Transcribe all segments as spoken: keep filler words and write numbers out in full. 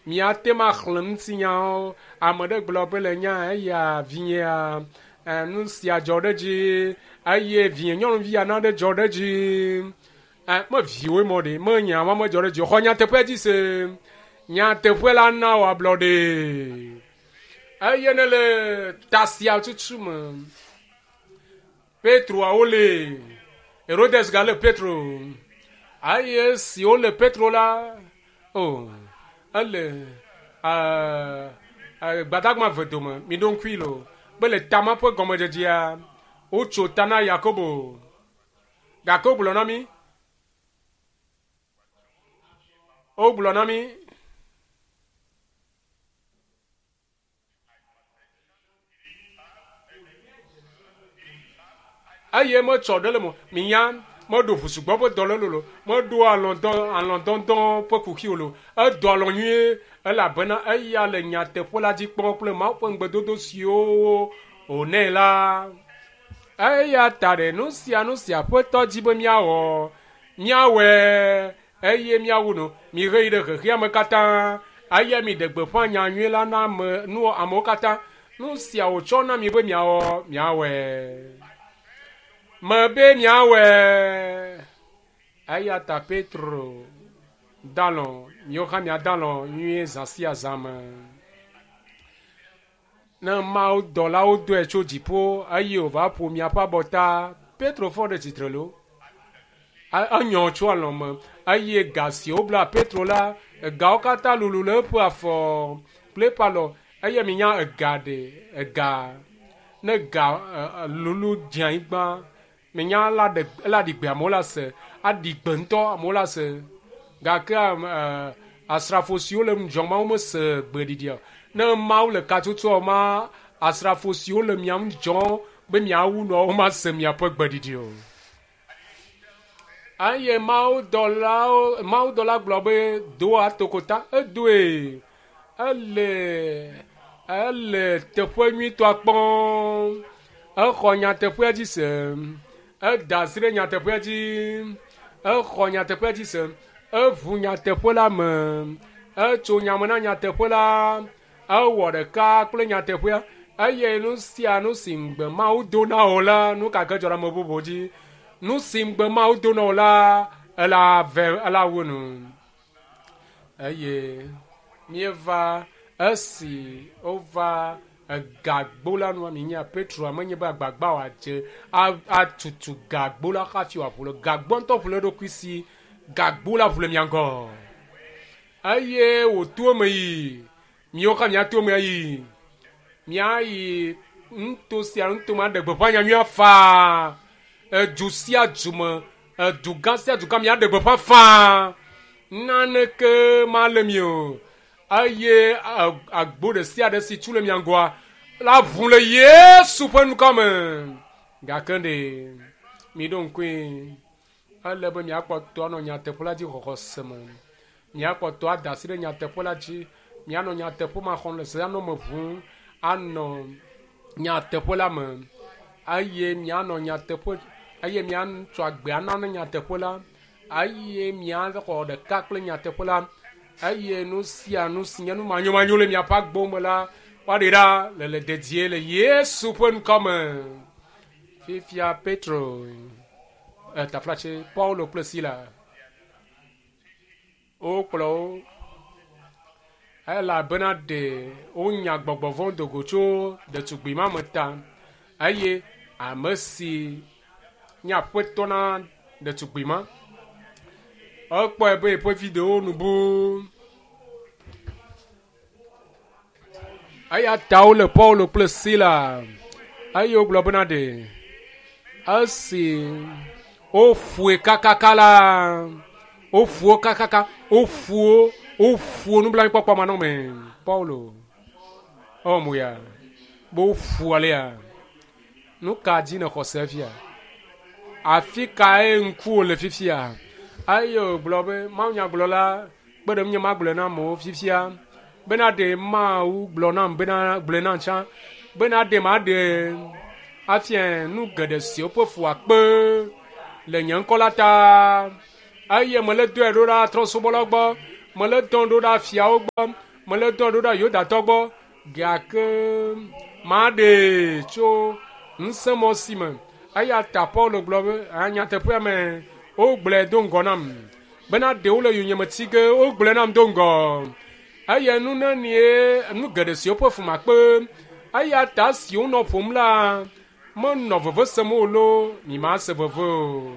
Miate ma xlẽ ŋutinyawo. Ame ɖe gblɔ be le nya eya vinyea nu sia dzɔ ɖe dzi eye vinye nyɔnuvi ya na ɖe dzɔ ɖe dzi. Me viwoe mɔ ɖe, me nya ma medzɔ ɖe dzi o. Xɔ nyateƒe dzi se. Nyateƒe la na wò ablɔɖe. Eye ne le ta sia tutu me, Petroa wole, Herodes gale Petro. Eye si wole Petro la, o, ele gbadagba ve dome, mi ɖo ŋkui lo, be le tama ƒe gɔmedzedzea, wotso ta na Yakobo. Gake wogblɔ na mi, wogblɔ na mi, eye metsɔ ɖe le mo, minya, meɖo ʋusugbɔ ƒe dɔ le lolo, meɖo alɔ̃dɔ alɔ̃dɔdɔ ƒe kuxi o lo, edɔ alɔ̃ nyuie elabena eya le nyateƒe la dzi kpɔm kple Mawu ƒe ŋugbedodo siwo wònɛ la. Eya ta ɖe nu sia nu si Aƒetɔ dzi be míawɔ, míawɔe eye míawu nu. Mihe yi ɖe xexea me katã eye miɖe gbeƒã nya nyui la na ame nu amewo katã. Nu sia wòtsɔ na mi be miawɔ, miawɔe. Mebe miawɔe. Eya ta Petro dalɔ, miwo hã miadalɔ nyuie zã sia zã me. Ne Mawu dɔlawo dɔe tso dziƒo eye wòva ƒo miaƒe abɔta, Petro fɔ ɖe tsitre lo. Enyɔ tso alɔ me eye ga si wobla Petro la, egawo katã lulu le eƒe afɔ kple eƒe alɔ eye minya ega ɖe ega ne ga lulu dze anyigba minya la ɖe la ɖi gbe amewo la se aɖi gbe ŋutɔ amewo la se gake asrafo siwo le ŋudzɔ ma womese gbeɖiɖia o. Ne Mawu le katutua ma asrafo siwo le mia ŋudzɔ be miawu nua womase miaƒe gbeɖiɖi o. Eye Mawu dɔlawo Mawu dɔla gblɔ be do atokota edoe ele ele teƒe nyuitɔa kpɔm. Exɔ nyateƒea dzi se. Eda asi ɖe nyateƒea dzi. Exɔ nyateƒea dzi se. Eʋu nyateƒe la me. Etso nyame na nyateƒe la. Ewɔ ɖeka kple nyateƒea. Eye nu sia nu si ŋugbe Mawu do na wò la, nu ka ke dzɔ ɖe ame bubu dzi. Nu si ŋugbe Mawu do na wò la, ela ve ela wu nu. Eye míeva esi wova egagbo la nua minya Petro amenye be agbagba wòadze atutu gagbo la hafi wòaʋu le gagbo ŋutɔ ʋu le eɖokui si gagbo la ʋu le mia ŋgɔ. Eye wòto eme yi miwo hã miato eme ayi miayi nuto sia nuto me aɖe gbeƒã nyanyuia faa. Edu sia du me, edu gã sia du gã miaɖe gbeƒã faa. Naneke male mi o. Eye agbo ɖe sia ɖe si tu le mia ŋgɔa la ʋu le Yesu ƒe ŋkɔ me. Gake ɖe miɖo ŋkui ele be miakpɔtɔ anɔ nyateƒe la dzi xɔxɔ se me. Miakpɔtɔ ada asi ɖe nyateƒe la dzi. Mianɔ nyateƒe ma xɔm le se anɔ me ʋum anɔ nyateƒe la me. Eye mianɔ nyateƒe eye miatsɔ agbe ana ne nyateƒe la. Eye miaxɔ ɖeka kple nyateƒe la. Eye nu sia nu si nye nu manyomanyo le miaƒe agbo me la, woaɖe ɖa le le dedie le Yesu ƒe ŋkɔ me. Fifia Petro, taflatse Paulo kple Sila wokplɔ wo elabena ɖe wonya gbɔgbɔ vɔ̃ do go tso ɖetugbui ma me ta eye ame si nye aƒetɔ na ɖetugbui ma ekpɔe be eƒe videowo nu bu. Eya ta wole Paulo kple Sila eye wogblɔ bena ɖe esi woƒoe kakaka la woƒo wo kakaka woƒo wo woƒo nublanuikpɔkpɔ manɔme Paulo ewɔ mo ya be woƒo alea nu ka dzi nèxɔ se fia afi kae ŋkuwò le fifia eye wògblɔ be mawunyagblɔla kpe ɖe ŋunye magblɔe na amewo fifia bena ɖe Mawu gblɔ nam bena gblɔe nam tsã bena ɖe maɖe afia nu geɖe siwo ƒe fu akpe le nye ŋkɔ la ta eye mele dɔe ɖo ɖa trɔ̃subɔlawo gbɔ mele dɔm ɖo ɖa fiawo gbɔ Mele dɔ ɖo ɖa Yudatɔ gbɔ gake maɖee tso ŋusẽmɔ si me. Eya ta Paulo gblɔ be nyateƒea me wogblɔe do ŋgɔ nam bena ɖewo le yonyeme ti ge wogblɔe nam do ŋgɔ. Eye nu nenie nu geɖe siwo ƒe fu makpe. Eya ta si wonɔ ƒom la menɔ veve sem o loo mi ma se veve o.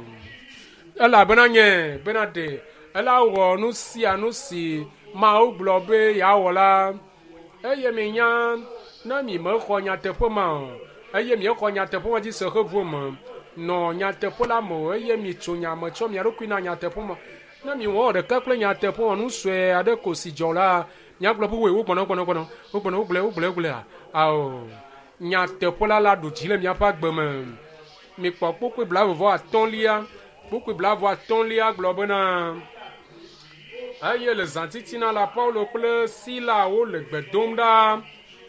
Elabena nye bena ɖe ela wɔ nu sia nu si Mawu gblɔ be yeawɔ la. Eye minya ne mi mexɔ nyateƒe ma o eye miexɔ nyateƒe ma dzi se heʋu me nɔ nyateƒe la me o eye mitso nya me tsɔ mia ɖokui na nyateƒe ma. Ne miwɔ ɖeka kple nyateƒe ma nu sue aɖe ko si dzɔ la miagblɔ be woe wogbɔnɔ gbɔnɔ gbɔnɔ wogbɔnɔ wogblɔe wogblɔe wogblɔea ao nyateƒe la la ɖu dzi le miaƒe agbe me. Mikpɔ kpukpui blaeve vɔ atɔ̃lia kpukpui blaeve atɔ̃lia gblɔ bena eye le zãtitina la Paulo kple Sila wole gbe dom ɖa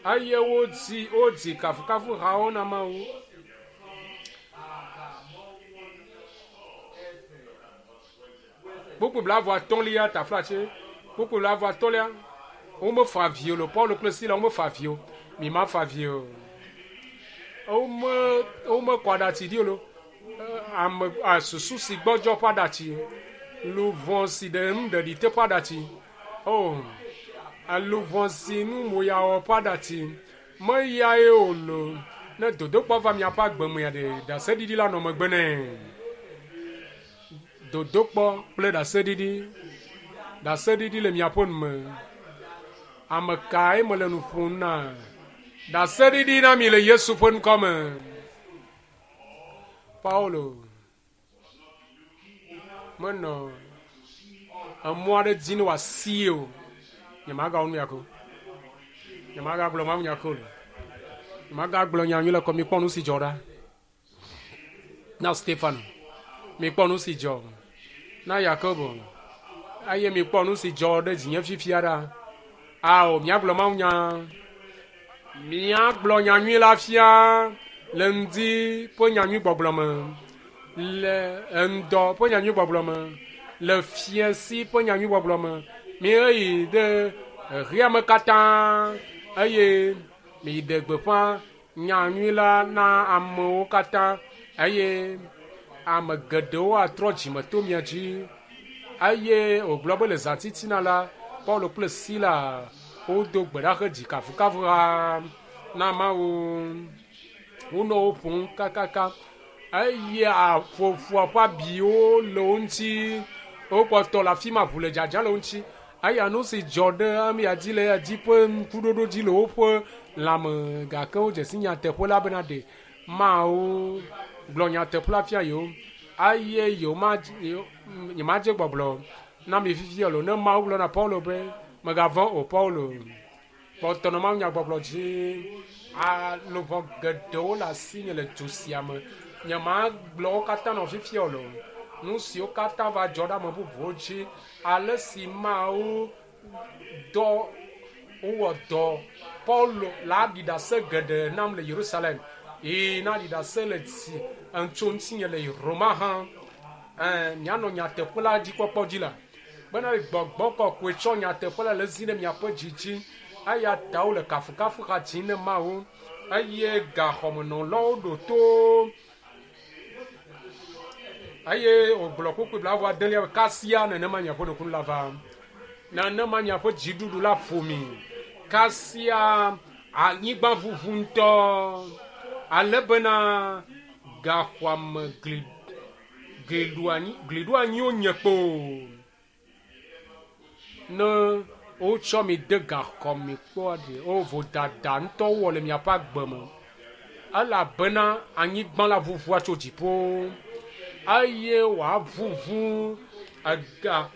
eye wodzi wodzi kafukafuhawo na Mawu. Kpukpui blaeve atɔ̃lia taflatse kpukpui blaeve atɔ̃lia womefa avi o le Paulo kple Sila womefa avi o mi ma fa avi o. Wome womekɔ aɖatsi ɖi o lo ame susu si gbɔdzɔ ƒe aɖatsi luʋɔ si ɖe nuɖeɖi te ƒe aɖatsi o luʋɔ si nu moyawɔ ƒe aɖatsi meyae o lo ne dodokpɔ va miaƒe agbe mea ɖe ɖaseɖiɖi la nɔ megbe nɛ. Dodokpɔ kple ɖaseɖiɖi ɖaseɖiɖi le miaƒe nu me. Ame kae mele nu ƒom na? Ɖaseɖiɖi na mi le Yesu ƒe ŋkɔ me. Paulo menɔ emɔ aɖe dzi ne wòasi o. Nyemagawɔ nu ya ko. Nyemagagblɔ Mawu nya ko o. Nyemagagblɔ nya nyui le kɔ mikpɔ nu si dzɔ ɖa. Na Stefano mikpɔ nu si dzɔ. Na Yakobo eye mikpɔ nu si dzɔ ɖe dzinye fifia ɖa. Ao miagblɔ Mawu nya. Miagblɔ nya nyui la fia le ŋdi ƒe nya nyui gbɔgblɔ me, le ŋdɔ ƒe nya nyui gbɔgblɔ me, le fiẽsi ƒe nya nyui gbɔgblɔ me. Miheyi ɖe xexea me katã eye miɖe gbeƒã nya nyui la na amewo katã eye ame geɖewo atrɔ dzime to mia dzi. Eye wògblɔ be le zãtitina la Paulo kple Sila wodo gbe ɖa hedzi kafukafuha na Mawu. Wonɔ wo ƒom kakaka eye aƒoƒoa ƒe abiwo le wo ŋuti. Wokpɔtɔ le afi ma ʋu le dzadza le wo ŋuti. Eya nu si dzɔ ɖe amea dzi le eya dzi ƒe ŋkuɖoɖo dzi le woƒe lãme gake wodze si nyateƒe la bena ɖe Mawu gblɔ nyateƒe la fia yewo eye yewo ma nyemadze gbɔgblɔ na mi fifia o. Ne Mawu gblɔ na Paulo be megavɔ̃ o Paulo kpɔtɔ nɔ Mawu nyagbɔgblɔ dzi. Luʋɔ geɖewo le asinye le du sia me. Nyemagblɔ wo katã nɔ fifia o. Nu siwo katã va dzɔ ɖe ame bubuwo dzi ale si Mawu dɔ wowɔ dɔ Paulo la ɖi ɖase geɖe nam le Yerusalem eye na ɖi ɖase le tsi tso ŋutinye le Roma hã. Ɛɛ mianɔ nyateƒe la dzi kpɔkpɔ dzi la bena gbɔgbɔ kɔkɔe tsɔ nyateƒe la le zi ɖe miaƒe dzi dzi. Eya ta wole kafukafuha dzim ne Mawu eye gaxɔmenɔlawo ɖo to. Eye wògblɔ kpukpui blaeve adelia be kasia nenema miaƒe nukunu la va. Nenema miaƒe dziɖuɖu la ƒo mi. Kasia anyigba ʋuʋu ŋutɔ ale bena gaxɔa me gli gliɖoanyiwo nye kpo. Ne wotsɔ mi de gaxɔ me kpɔa ɖe wo vodada ŋutɔ wɔ le miaƒe agbe me elabena anyigba la ʋuʋua tso dziƒo eye wòaʋuʋu ega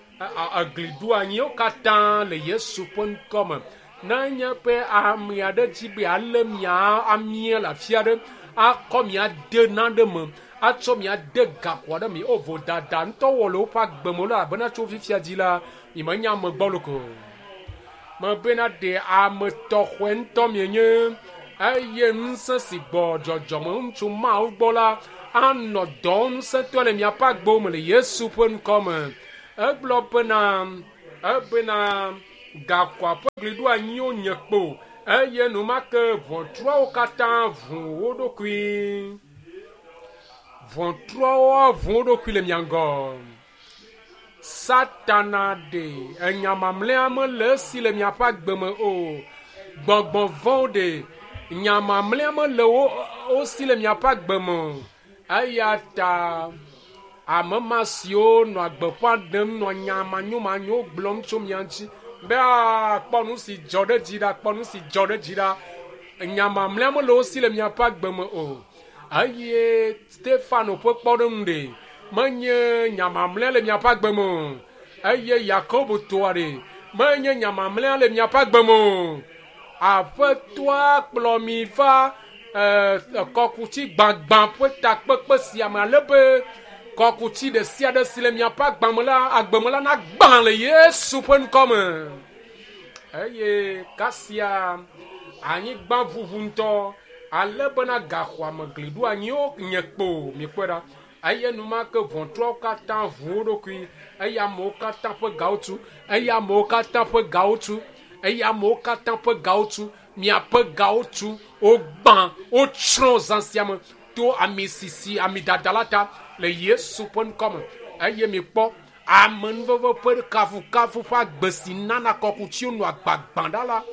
egliɖoanyiwo katã le Yesu ƒe ŋkɔ me. Nenye be ame aɖe dzi be alé mia amia le afi aɖe akɔ mia de naɖe me atsɔ mia de gaxɔ aɖe me o vodada ŋutɔ wɔ le woƒe agbe me elabena tso fifia dzi la nyemenya ame gbɔlo ko. Mebena ɖe ame tɔxɔe ŋutɔ mienye eye ŋusẽ si gbɔ dzɔdzɔme ŋutsu Mawu gbɔ la anɔ dɔ ŋusẽtɔe le miaƒe agbewo me le Yesu ƒe ŋkɔ me. Egblɔ bena ebena Gaxɔa ƒe gli ɖo anyiwo nye kpo eye enumake ʋɔtruawo katã ʋu wo ɖokui. Ʋɔtruawo ʋu wo ɖokui le mia ŋgɔ. Satana ɖe enya mamlɛa mele esi le miaƒe agbe me o. Gbɔgbɔ vɔ̃wo ɖe nya mamlɛa mele wo wo si le miaƒe agbe me o. Eya ta ame ma siwo nɔ gbeƒã ɖem nɔ nya manyomanyowo gblɔm tso mia ŋuti be kpɔ nu si dzɔ ɖe dzi ɖa, kpɔ nu si dzɔ ɖe dzi ɖa. Nya mamlɛa mele wo si le miaƒe agbe me o. Eye Stefano ƒe kpɔɖeŋu ɖe menye nya mamlɛa le miaƒe agbe me o. Eye Yakobo toa ɖe menye nya mamlɛa le miaƒe agbe me o. Aƒetɔa kplɔ mi va kɔkuti gbagbã ƒe takpekpe sia me ale be kɔkuti ɖe sia ɖe si le miaƒe agbame la agbe me la nagbã le Yesu ƒe ŋkɔ me. Eye kasia anyigba ʋuʋu ŋutɔ ale bena gaxɔa me gli ɖo anyiwo nye kpo mikpɔe ɖa. Eye enumake ʋɔtruawo katã ʋu wo ɖokui eye amewo katã ƒe gawo tu eye amewo katã ƒe gawo tu eye amewo katã ƒe gawo tu miaƒe gawo tu wogbã wotsrɔ̃ zã sia me to ami sisi ami dada la ta le Yesu ƒe ŋkɔ me. Eye mikpɔ amenuveve ƒe kafukafu ƒe agbe si nana kɔkutiwo nɔ agbagbã ɖa la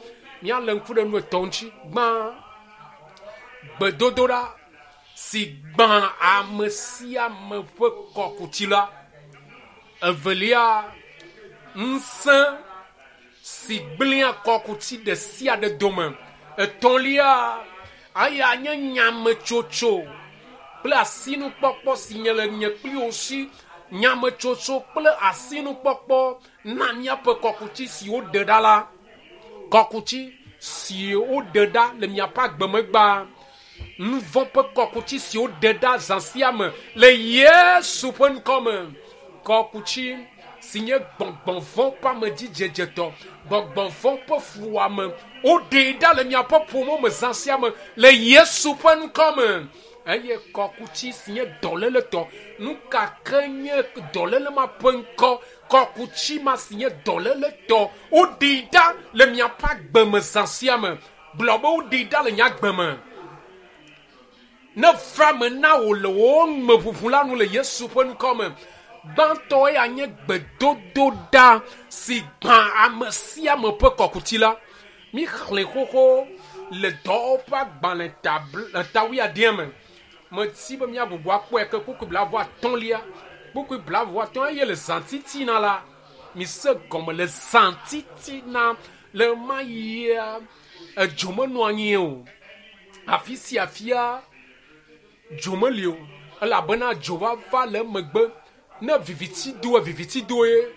míalé ŋku ɖe nu etɔ̃ ŋuti. Gbã, gbedodoɖa si gbã ame sia ame ƒe kɔkuti la. Evelia, ŋusẽ si gblẽa kɔkuti ɖe sia ɖe dome. Etɔ̃lia, eya nye nyametsotso kple asinukpɔkpɔ si nye le nye kpli wo si. Nyametsotso kple asinukpɔkpɔ na míaƒe kɔkuti si woɖe ɖa la. Kɔkuti si woɖe ɖa le miaƒe agbemegbea. Nu vɔ̃ ƒe kɔkuti si woɖe ɖa zã sia me le Yesu ƒe ŋkɔ me. Kɔkuti si nye gbɔgbɔ vɔ̃ ƒe amedzidzedzetɔ, gbɔgbɔ vɔ̃ ƒe fuwɔame, woɖee ɖa le miaƒe ƒomewo me zã sia me le Yesu ƒe ŋkɔ me. Eye kɔkuti si nye dɔléletɔ, nu ka ke nye dɔléle ma ƒe ŋkɔ, kɔkuti ma si nye dɔléletɔ, woɖee ɖa le miaƒe agbe me zã sia me. Gblɔ be woɖee ɖa le nye agbe me. Ne va me na wò le wò meʋuʋu la nu le Yesu ƒe ŋkɔ me. Gbãtɔ ya nye gbedodoɖa si gbã ame sia ame ƒe kɔkuti la. Míxlẽ xoxo le dɔwɔƒe agbalẽ ta wuiadea me. Meti be míagbugbɔ akpɔe ke kpukpui blaeve atɔ̃lia, kpukpui blaeve atɔ̃ eye le zã titina la, mise gɔme le zã titina le ma yia edzo menɔ anyi o. Afi sia fia dzo meli o elabena dzo va va le megbe. Ne viviti doe viviti doe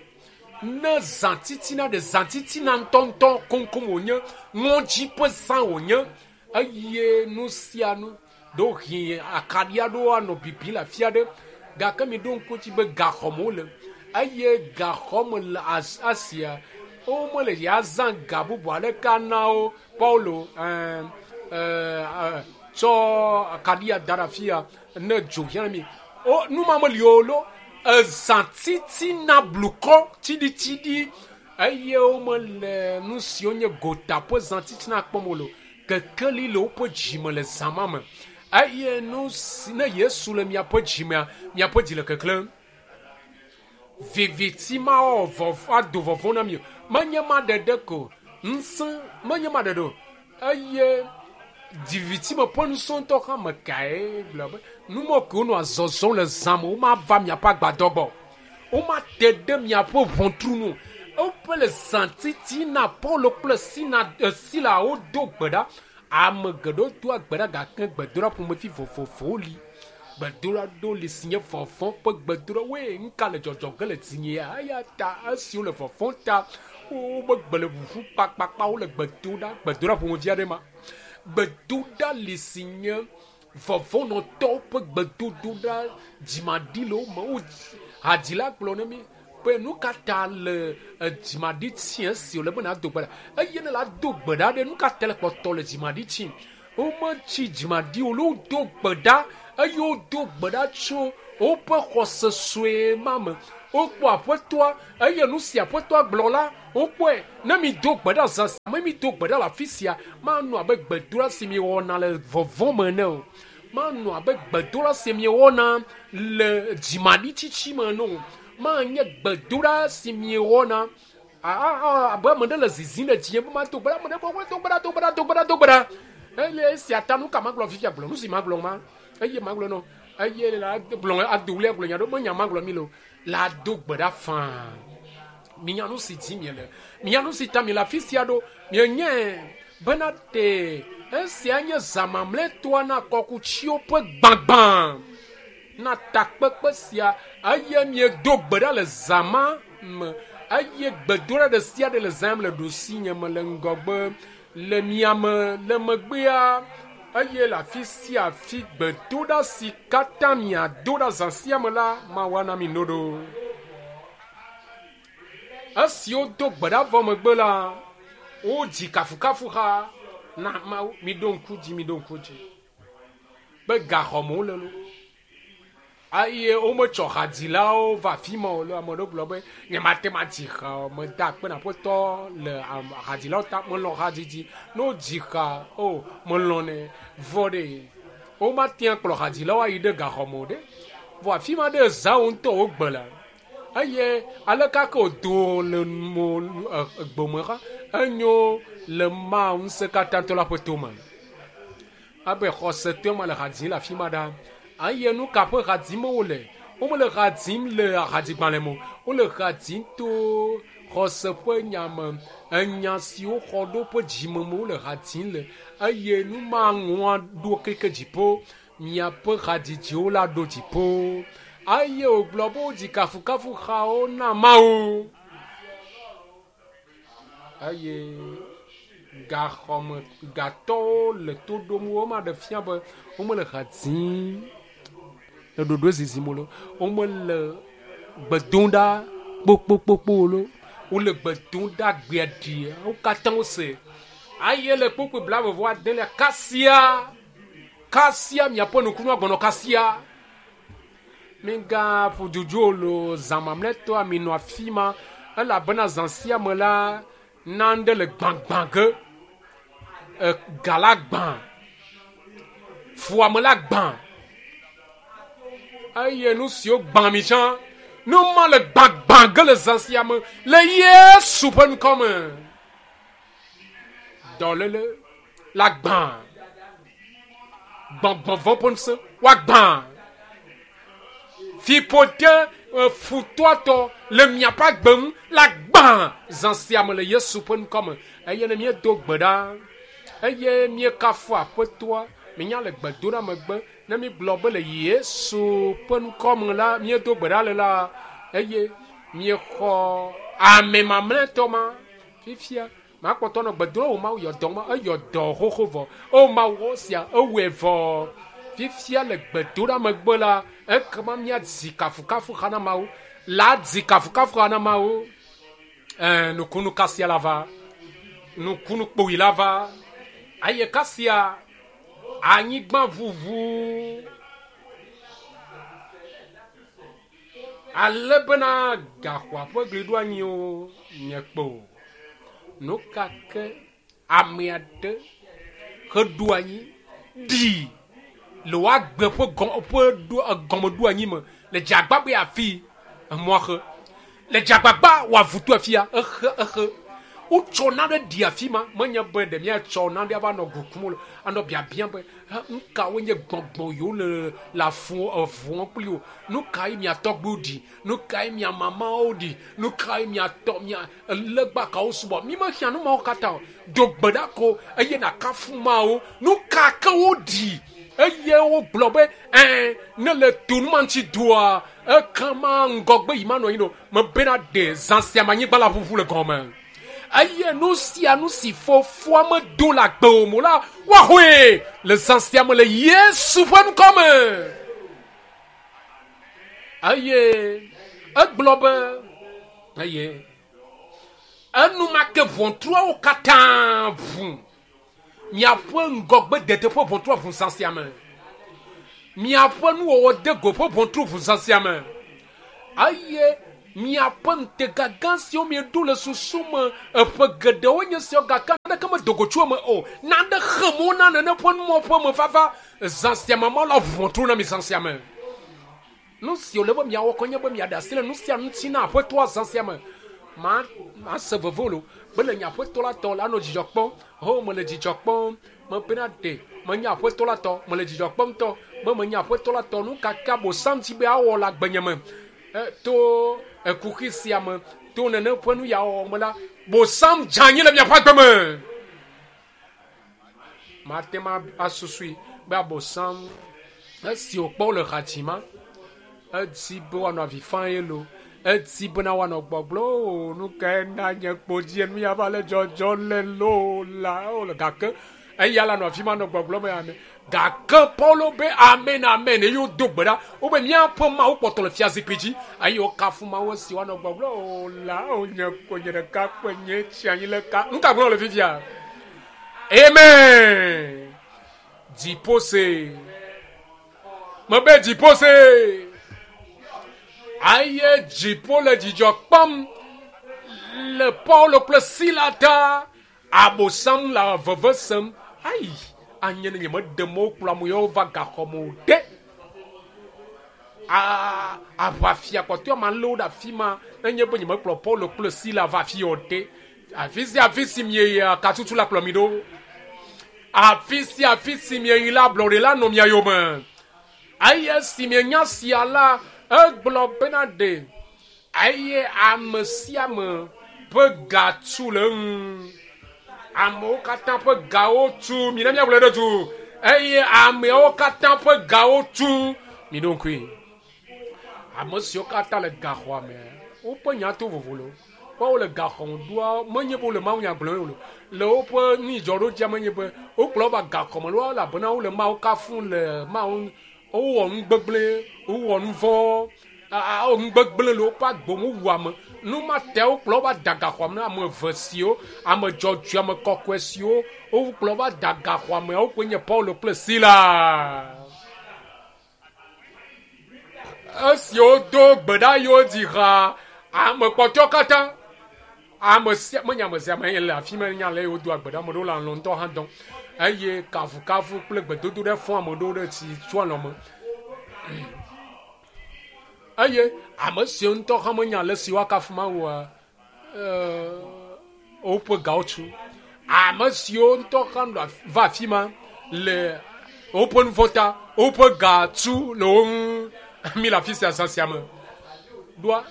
ne zã titina ɖe zã titina ŋutɔŋutɔ koŋkoŋ wònye ŋɔdzi ƒe zã wònye eye nu sia nu ɖewohĩ akaɖi aɖewo anɔ bibim le afi aɖe gake mi ɖo ŋku edzi be gaxɔme wole eye gaxɔme le Asia womele ya zã ga bubu aɖeke ana wo. Paulo ɛɛ ɛɛ tsɔ akaɖia da ɖe afi ya ne dzo hiã mi. O nu ma meli o lo. Ezã titina blukɔ tsiɖitsiɖi eye womele nu siwo nye gota ƒe zã titina kpɔm o lo. Kekeli le woƒe dzime le zã ma me eye nu si ne Yesu le miaƒe dzimea, miaƒe dzi le keklẽm. Viviti ma wɔ vɔvɔ̃ ado vɔvɔ̃ na mi o. Menye ma ɖeɖe ko ŋusẽ menye ma ɖeɖe o eye viviti me ƒe ŋusẽ ŋutɔ hã me kae gblɔ be nu ma ke wonɔ zɔzɔm le zã me womava miaƒe agbadɔ gbɔ o. Womate ɖe miaƒe ʋɔtru nu o. Woƒe le zã titina Paulo kple Sina Sila wodo gbe ɖa. Ame geɖewo doa gbe ɖa gake gbedoɖa ƒomevi vovovowo li. Gbedoɖa ɖewo li si nye vɔvɔ̃ ƒe gbedoɖa. Woe nuka le dzɔdzɔ ge le dzinye ya? Eya ta esi wole vɔvɔ̃ ta wobe gbe le ʋuʋu kpakpakpa wole gbe dom ɖa. Gbedoɖa ƒomevi aɖe ma. Gbedoɖa li si nye vɔvɔ̃nɔtɔwo ƒe gbedodoɖa dzimaɖi le wo me. Wo hadzila gblɔ na mi be nu ka ta le dzimaɖi tsi esi wòle be nàdo gbe ɖa. Eye ne la do gbe ɖa ɖe nu ka ta le kpɔtɔ le dzimaɖi tsim? Wometsi dzimaɖi o. Wodo gbe ɖa eye wodo gbe ɖa tso woƒe xɔse sue ma me. Wokpɔ aƒetɔa eye nu si aƒetɔa gblɔ la Wokpɔe ne mi do gbe ɖa zã sia me mi do gbe ɖa le afi sia manɔ abe gbedoɖa si mi wɔna le vɔvɔ̃ me ene o. Manɔ abe gbedoɖa si mi wɔna le dzimaɖitsitsi me ene o. Manye gbedoɖa si mi wɔna abe ame ɖe le zizim le dzinye be mado gbe ɖa, ame ɖe gblɔ do gbe ɖa, do gbe ɖa, do gbe ɖa, do gbe ɖa. Eye esia ta nu ka magblɔ fifia gblɔ nu si magblɔ ma eye magblɔ nɔ eye la gblɔ ado wli agblɔ nya ɖo menya magblɔ mi le o la do gbe ɖa faa. Minya nu si dzi miele, minya nu si ta mi le afi sia ɖo, mienye bena te esia nye zã mamlɛtɔa na kɔkutsiwo ƒe gbagbã na takpekpe sia eye miedo gbe ɖa le zã ma me eye gbedoɖa ɖe sia ɖe le zã me le ɖosinye me le ŋgɔgbe le miame le megbea eye le afi sia afi gbedoɖa si katã miado ɖa zã sia me la Mawu ana mi no ɖo. Esi wodo gbe ɖa vɔ megbe la wodzi kafukafuha na Mawu. Miɖo ŋku dzi, miɖo ŋku dzi be gaxɔme wole lo eye wometsɔ hadzilawo va afi ma o. Le ame ɖewo gblɔ be nyemate ŋu adzi ha o, meda akpe na Aƒetɔ le hadzilawo ta, melɔ̃ hadzidzi. Ne wodzi ha o melɔ̃nɛ vɔ ɖe womate ŋu akplɔ hadzilawo ayi ɖe gaxɔme o ɖe. Vɔ afi ma ɖe zã wo ŋutɔ wogbe le eye aleke ke wòdo le mo gbome ha enyo le Mawu ŋusẽkatãtɔ la ƒe tome. Abe xɔsetɔe ma le ha dzim le afi ma ɖa. Eye nu ka ƒe ha dzim wole? Womele ha dzim le hadzigbalẽ me o. Wole ha dzim to xɔse ƒe nya me. Enya siwo xɔ ɖo ƒe dzime me wole ha dzim le. Eye nu ma ŋua ɖo keke dziƒo. Miaƒe hadzidziwo la ɖo dziƒo. Eye wògblɔ be wodzi kafukafuhawo na Mawu. Eye gaxɔme gatɔwo le to ɖom wo ma ɖe fia be womele ha dzim le ɖoɖo zizim o, womele gbe dom ɖa kpokpokpokpo o, wole gbe dom ɖa gbea ɖi wo katã wose. Eye le kpokpo blaeve vɔ adelia kasia kasia miaƒe nukunu agbɔnɔ kasia. Migaƒo dzodzo lo zã mamlɛtɔa minɔ afi ma elabena zã sia me la nane le gbãgbã ge. Ga la gbã, fuame la gbã eye nu siwo gbã mi tsã nu ma le gbãgbã ge le zã sia me le Yesu ƒe ŋkɔ me. Dɔléle la gbã, gbɔgbɔvɔ̃ ƒe ŋusẽ woagbã, fiƒode futɔatɔ le miaƒe agbe ŋu la gbã zã sia me le Yesu ƒe ŋkɔ me. Eye ne míedo gbe ɖa eye míekafu Aƒetɔa, minya le gbedoɖa megbe ne mígblɔ be le Yesu ƒe ŋkɔ me la míedo gbe ɖa le la eye míexɔ ame mamlɛtɔ ma fifia makpɔtɔ nɔ gbe dom o Mawu yɔ dɔ ma eyɔ dɔ xoxo vɔ o Mawu sia ewɔe vɔ fifia le gbedoɖa megbe la ekema míadzi kafukafu ha na Mawu la dzi kafukafu ha na Mawu. Ɛɛ nukunu kasia la va, nukunu kpoyi la va eye kasia anyigba ʋuʋu ale bena gaxɔa ƒe gli ɖo anyi o nye kpo. Nu ka ke ame aɖe heɖo anyi ɖi le woagbe ƒe gɔ ƒe ɖo gɔmeɖo anyi me le dzagbagba be afi emɔa xe le dzagbagba wòavu to afia exe exe wotsɔ nane ɖi afi ma menye be ɖe míatsɔ nane ava nɔ gukum le anɔ biabia be nu kawoe nye gbɔgbɔ yiwo le le afu evuɔ kpli o, nu kae mia tɔgbuiwo ɖi, nu kae mia mamawo ɖi, nu kae mia tɔ mia legba kawo subɔ. Mi mehiã nu mawo katã o. Do gbe ɖa ko eye nàkafu Mawu. Nu ka ke woɖi eye wogblɔ be ɛɛ ne le to nu ma ŋuti doa ekema ŋgɔgbe yi manɔ anyi o. Mebena ɖe zã sia me anyigba la ʋuʋu le gɔme. Eye nu sia nu si fofoa medo le agbe o mo la woaxɔe le zã sia me le Yesu ƒe ŋkɔ me. Eye egblɔ be eye enumake ʋɔtruawo katã ʋu. Miaƒe ŋgɔgbe dede ƒe ʋɔtrua ʋu zã sia me. Miaƒe nuwɔwɔ de go ƒe ʋɔtru ʋu zã sia me. Eye Miaƒe ŋutega gã siwo mieɖo le susu me eƒe geɖewo nye siawo gake naneke medo go tso eme o. Nane xe mɔ na nene ƒe numɔ ƒe me vava zã sia me Mawu la ʋu ʋɔtru na mi zã sia me. Nu si wòle be miawɔ koe nye be miaɖe asi le nu sia nu ŋuti na Aƒetɔa zã sia me. Ma mase veve o be le nye Aƒetɔ la tɔ la nɔ dzidzɔ kpɔm. Ho mele dzidzɔ kpɔm. Mebena ɖe menye Aƒetɔ la tɔ. Mele dzidzɔ kpɔm ŋutɔ be menye Aƒetɔ la tɔ. Nu ka ke Abosam dzi be awɔ le agbenye me to ekuxi sia me to nene ƒe nu ya wɔwɔ me la, Bosam dze anyi le miaƒe agbe me. Mate ŋu asusui be Abosam esi wòkpɔ wo le ha dzi ma, edi be woanɔ avi fam ye lo. Edi bena woanɔ gbɔgblɔ o nu kae na nye kpo dzi nu ya va le dzɔdzɔ le lo la o gake eya la nɔ afi ma nɔ gbɔgblɔ be amen. Gake Paulo be amen amen eye wodo gbe ɖa wobe míaƒe Mawu kpɔtɔ le fiazikpui dzi eye wokafu Mawu esi woanɔ gbɔgblɔ o la o nye ko nye ɖeka kpe nye tsi anyi le ka. Nu ka gblɔm le fifia? Amen. Dziƒo se. Mebe dziƒo se. Eye dziƒo le dzidzɔ kpɔm le Paulo kple Sila ta. Abosam le veve sem. Ayi, anye ne nyemeɖe mɔ wokplɔ ame yawo va gaxɔ me o ɖe. A aʋafia kpɔtɔe ma lé wo ɖe afi ma nenye be nyemekplɔ Paulo kple Sila va afi o ɖe. Afi sia afi si mieyia katutu la kplɔ mi ɖo. Afi sia afi si mieyi la ablɔɖe la nɔ mia yome. Eye si mienya sia la egblɔ bena ɖe eye ame sia ame ƒe ga tu le eŋu. Amewo katã ƒe gawo tu. Mi ne miagblɔe ɖe du. Eye ameawo katã ƒe gawo tu. Mi ɖo ŋkui. Ame siwo katã le gaxɔa me, woƒe nya to vovo lo. Kpɔ wole gaxɔ me ɖoa, menye be wole Mawu nya gblɔm o. Le woƒe nudzɔɖodzia menye be wokplɔ wo va gaxɔ me lo elabena wole Mawu kafum le Mawu wowɔ nu gbegblẽ, wowɔ nu vɔ̃, nu gbegblẽ le woƒe agbe me wowu ame. Nu ma ta wokplɔ wo va da gaxɔa me na ame eve siwo, ame dzɔdzɔe, ame kɔkɔe siwo wokplɔ wo va da gaxɔa me wokoe nye Paulo kple Sila. Esi wodo gbe ɖa eye wodzi ha, ame kpɔtɔewo katã, ame sia menye ame sia ame le afi ma nya le eye wodoa gbe ɖa ame ɖewo le alɔ ŋutɔ hã dɔm eye kafukafu kple gbedodo ɖe fɔ ame ɖewo ɖe tsi tso alɔ me. Eye ame siwo ŋutɔ hã menya ale si woakafu Mawua, woƒe gawo tu. Ame siwo ŋutɔ hã va afi ma le woƒe nu vɔ̃ ta, woƒe ga tu le wo ŋu. Mi le afi sia zã sia me. Ɖoa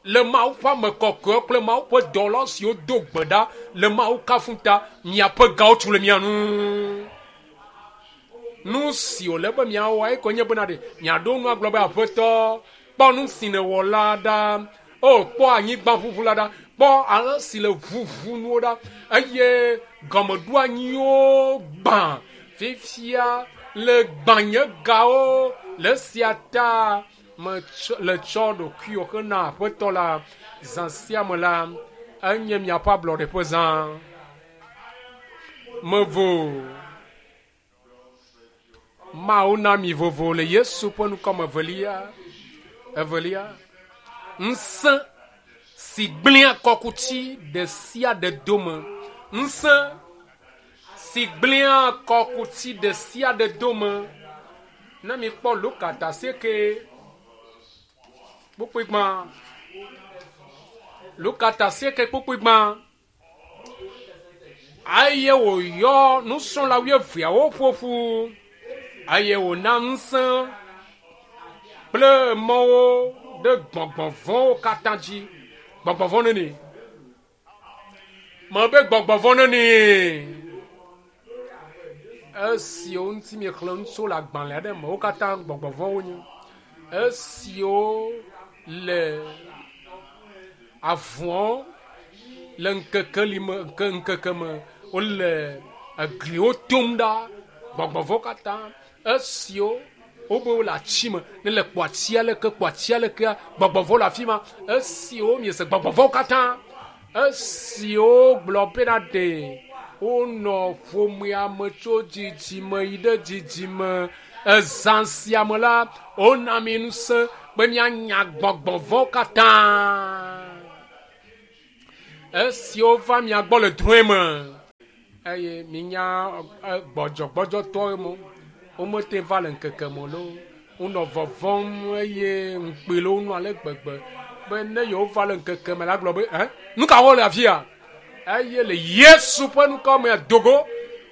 le Mawu ƒe ame kɔkɔewo kple Mawu ƒe dɔwɔla siwo do gbe ɖa le Mawu kafum ta, miaƒe gawo tu le mia ŋu. Nu si wòle be miawɔ ekoe nye bena ɖe miaɖo nu agblɔ be Aƒetɔ, kpɔ nu si nèwɔ la ɖa. O, kpɔ anyigba ʋuʋu la ɖa. Kpɔ ale si le ʋuʋu nuwo ɖa. Eye gɔmeɖoanyiwo gbã. Fifia le gbã nye gawo le esia ta metsɔ le tsɔ ɖokuiwò hena Aƒetɔ la. Zã sia me la, enye miaƒe ablɔɖe ƒe zã. Mevo. Mawu na mi vovo le Yesu ƒe ŋkɔme evelia. Evelia. Ŋusẽ si gblẽa kɔkuti ɖe sia ɖe dome. Ŋusẽ si gblẽa kɔkuti ɖe sia ɖe dome. Ne mi kpɔ Luka ta asieke kpukpui gbã. Luka ta asieke kpukpui gbã. Eye wòyɔ nusrɔ̃la wuieveawo ƒo ƒu eye wòna ŋusẽ kple mɔwo ɖe gbɔgbɔ vɔ̃wo katã dzi. Gbɔgbɔ vɔ̃ neni? Mebe gbɔgbɔ vɔ̃ neni? Esiwo ŋuti miexlẽ nu tso le agbalẽ aɖe me, wo katã gbɔgbɔ vɔ̃wo nye. Esiwo le avuawo le ŋkeke li me, ŋke, ŋkeke me, wole egliwo tom ɖa, gbɔgbɔ vɔ̃wo katã. Esiwo wobe wole ati me, ne le kpɔ atia leke, kpɔ atia lekea, gbɔgbɔ vɔ̃ le afi ma. Esiwo miese gbɔgbɔ vɔ̃wo katã. Esiwo gblɔ bena ɖe wonɔ ƒomea me tso dzidzime yi ɖe dzidzime. Ezã sia me la, wona mi ŋusẽ be mianya gbɔgbɔ vɔ̃wo katã esiwo va mia gbɔ le drɔ̃e me eye minya gbɔdzɔgbɔdzɔtɔwo me womete va le ŋkeke me loo wonɔ vɔvɔm eye ŋukpe le wo nu ale gbegbe be ne yewo va le ŋkeke me la gblɔ be ɛ nu ka wɔm le afi ya eye le Yesu ƒe ŋkɔ me dogo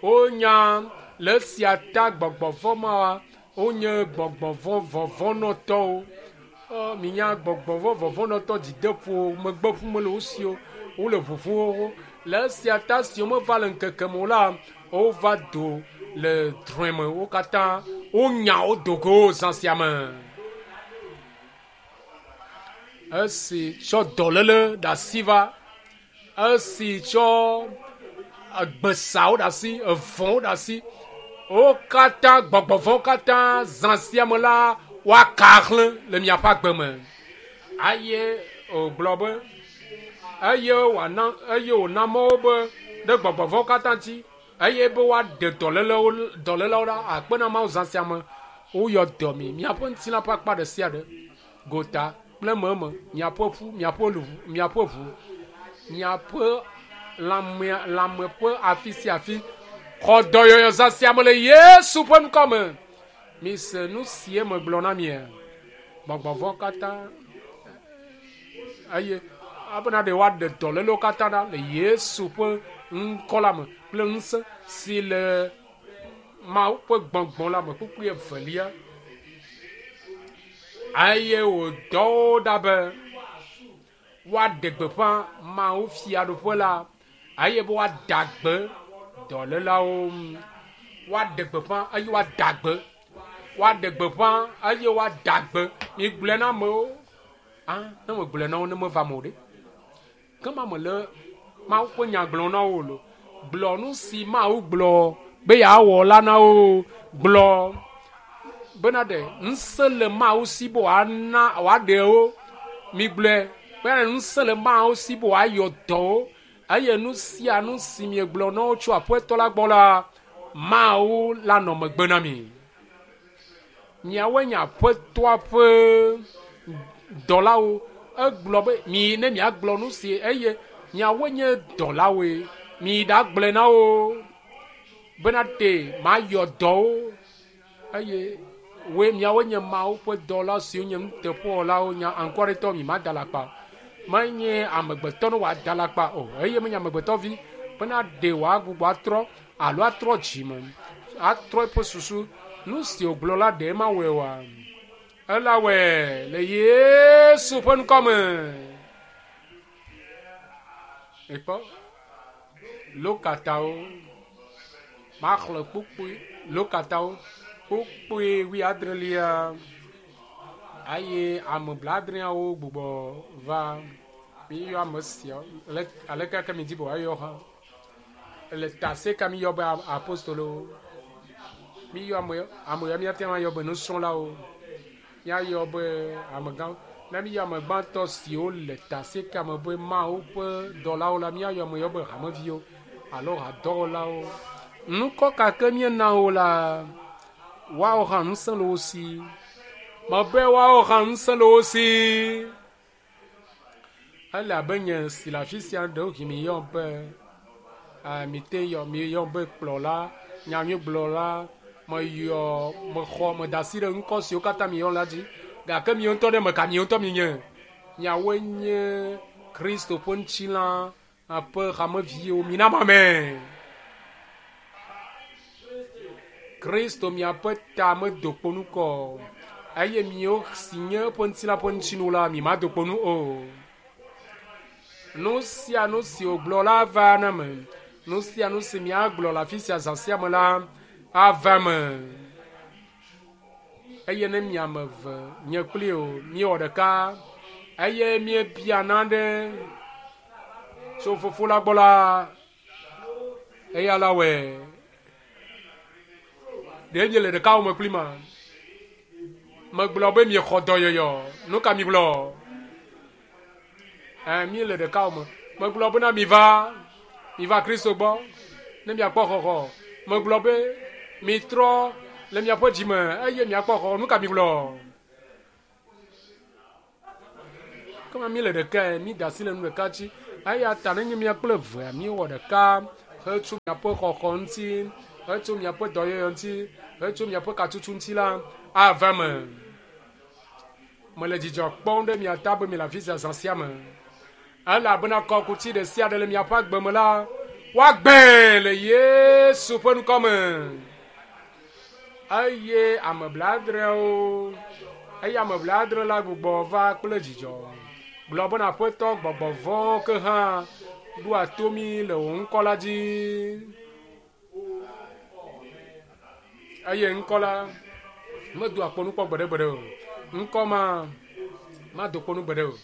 wonya le esia ta gbɔgbɔ vɔ̃ ma wonye gbɔgbɔ vɔ̃ vɔvɔ̃nɔtɔwo. Minya gbɔgbɔ vɔ̃ vɔvɔ̃nɔtɔ dzideƒo megbe ƒum le wo si o wole ʋuʋum le esia ta si womeva le ŋkeke me o la wova do le drɔ̃e me wo katã wonya wo dogo zã sia me. Esi tsɔ dɔléle ɖe asi va, esi tsɔ gbesawo ɖe asi, evɔ̃wo ɖe asi, wo katã gbɔgbɔ vɔ̃wo katã zã sia me la woaka xlẽ le miaƒe agbe me. Eye wògblɔ be eye wòana eye wòna mɔ wo be ɖe gbɔgbɔ vɔ̃wo katã dzi eye be woaɖe dɔlélewo dɔlélewo ɖa akpe na Mawu zã sia me. Woyɔ dɔ mi miaƒe ŋutilã ƒe akpa ɖe sia ɖe gota kple meme miaƒe ƒu miaƒe luʋu miaƒe ʋu miaƒe lãmea lãme ƒe afi sia afi xɔ dɔyɔyɔ zã sia me le Yesu ƒe ŋkɔ me. Mise nu sie megblɔ na mia gbɔgbɔ vɔ̃ katã eye abena ɖe woaɖe dɔlélewo katã ɖa le Yesu ƒe ŋkɔ la me kple ŋusẽ si le Mawu ƒe gbɔgbɔ la me kpukpui evelia eye wòdɔ wo ɖa be woaɖe gbeƒã Mawu fiaɖuƒe la eye be woada gbe dɔlélawo woaɖe gbeƒã eye woada gbe woaɖe gbeƒã eye woada gbe migblɔe na amewo ah ne megblɔe na wo ne meva me o ɖe ke ma mele Mawu ƒe nya gblɔm na wo lo gblɔ nu si Mawu gblɔ be yeawɔ la na wo gblɔ bena ɖe ŋusẽ le Mawu si be wòana wòaɖe wo migblɔe bena ŋusẽ le Mawu si be wòayɔ dɔ wo eye nu sia nu si miegblɔ na wo tso Aƒetɔ la gbɔ la Mawu la nɔ megbe na mi. Miawoe nye Aƒetɔa ƒe dɔlawo. Egblɔ be mi ne miagblɔ nu si eye miawoe nye dɔlawoe mi ɖagblɔe na wo bena ɖe mayɔ dɔ wo eye woe miawoe nye Mawu ƒe dɔla siwo nye nuteƒewɔlawo nya anukuaretɔ mi mada alakpa menye amegbetɔ ne wòada alakpa o eye menye amegbetɔvi bena ɖe wòagbugbɔ atrɔ alo atrɔ dzime atrɔ eƒe susu nu si wògblɔ la ɖe mawɔe oa ela wɔe le Yesu ƒe ŋkɔ me. Ekpɔ Lukatawo maxlẽ kpukpui Lukatawo kpukpui wuiadrelia eye ame blaadreawo gbugbɔ va miyɔ ame siawo aleke ke mi di be woayɔ hã le tase ka miyɔ be apostolowo miyɔ ame ame ya míate ŋu ayɔ be nusrɔ̃lawo míayɔ be amegãwo ne míyɔ ame gbãtɔ siwo le tase ka me be Mawu ƒe dɔlawo la míayɔ ame yɔ be hameviwo alo hadɔwɔlawo ŋkɔ ka ke míena wo la woawo hã ŋusẽ le wo si mebe woawo hã ŋusẽ le wo si ele abe nye si le afi sia ɖewohĩ miyɔ be mite yɔ miyɔ be kplɔla nyanyuigblɔla meyɔ mexɔ meda asi ɖe ŋkɔ siwo katã miyɔ la dzi gake miwo ŋutɔ ɖe meka miwo ŋutɔ mienye miawoe nye Kristo ƒe ŋutilã ƒe hameviwo mina mame Kristo miaƒe ta medo kpo nu kɔ eye miwo si nye eƒe ŋutilã ƒe ŋutinu la mi mado kpo nu o. Nu sia nu si wògblɔ la ava na me. Nu sia nu si miagblɔ le afi sia zã sia me la ava me. Eye ne miame eve nye kpli o miewɔ ɖeka eye miebia nane tso fofo la gbɔ la eya la wɔe. Ɖe miele ɖeka wɔme kpli ma? Megblɔ be miexɔ dɔyɔyɔ. Nu ka migblɔ? Ɛ miele ɖeka wɔme. Megblɔ bena miva miva Kristo gbɔ ne miakpɔ xɔxɔ. Megblɔ be mitrɔ le miaƒe dzime eye miakpɔ xɔxɔ. Nu ka migblɔ? Kema mi le ɖeka mi da asi le nu ɖeka dzi. Eya ta nenye mia kple evea miewɔ ɖeka hetso miaƒe xɔxɔ ŋuti, hetso miaƒe dɔyɔyɔ ŋuti, hetso miaƒe katutu ŋuti la ava me. Mele dzidzɔ kpɔm ɖe mia ta be mi le afi sia zã sia me. Elabena kɔkuti ɖe sia ɖe le miaƒe agbe me la, woagbee le Yesu ƒe ŋkɔ me. Eye ame blaadreawo, eye ame blaadre la gbugbɔ va kple dzidzɔ. Gblɔ bena Aƒetɔ gbɔgbɔ vɔ̃wo ke hã ɖoa to mí le wò ŋkɔ la dzi. Eye ŋkɔ la medoa kpo nu kpɔ gbeɖegbeɖe o. Ŋkɔ ma mado kpo nu gbeɖe o.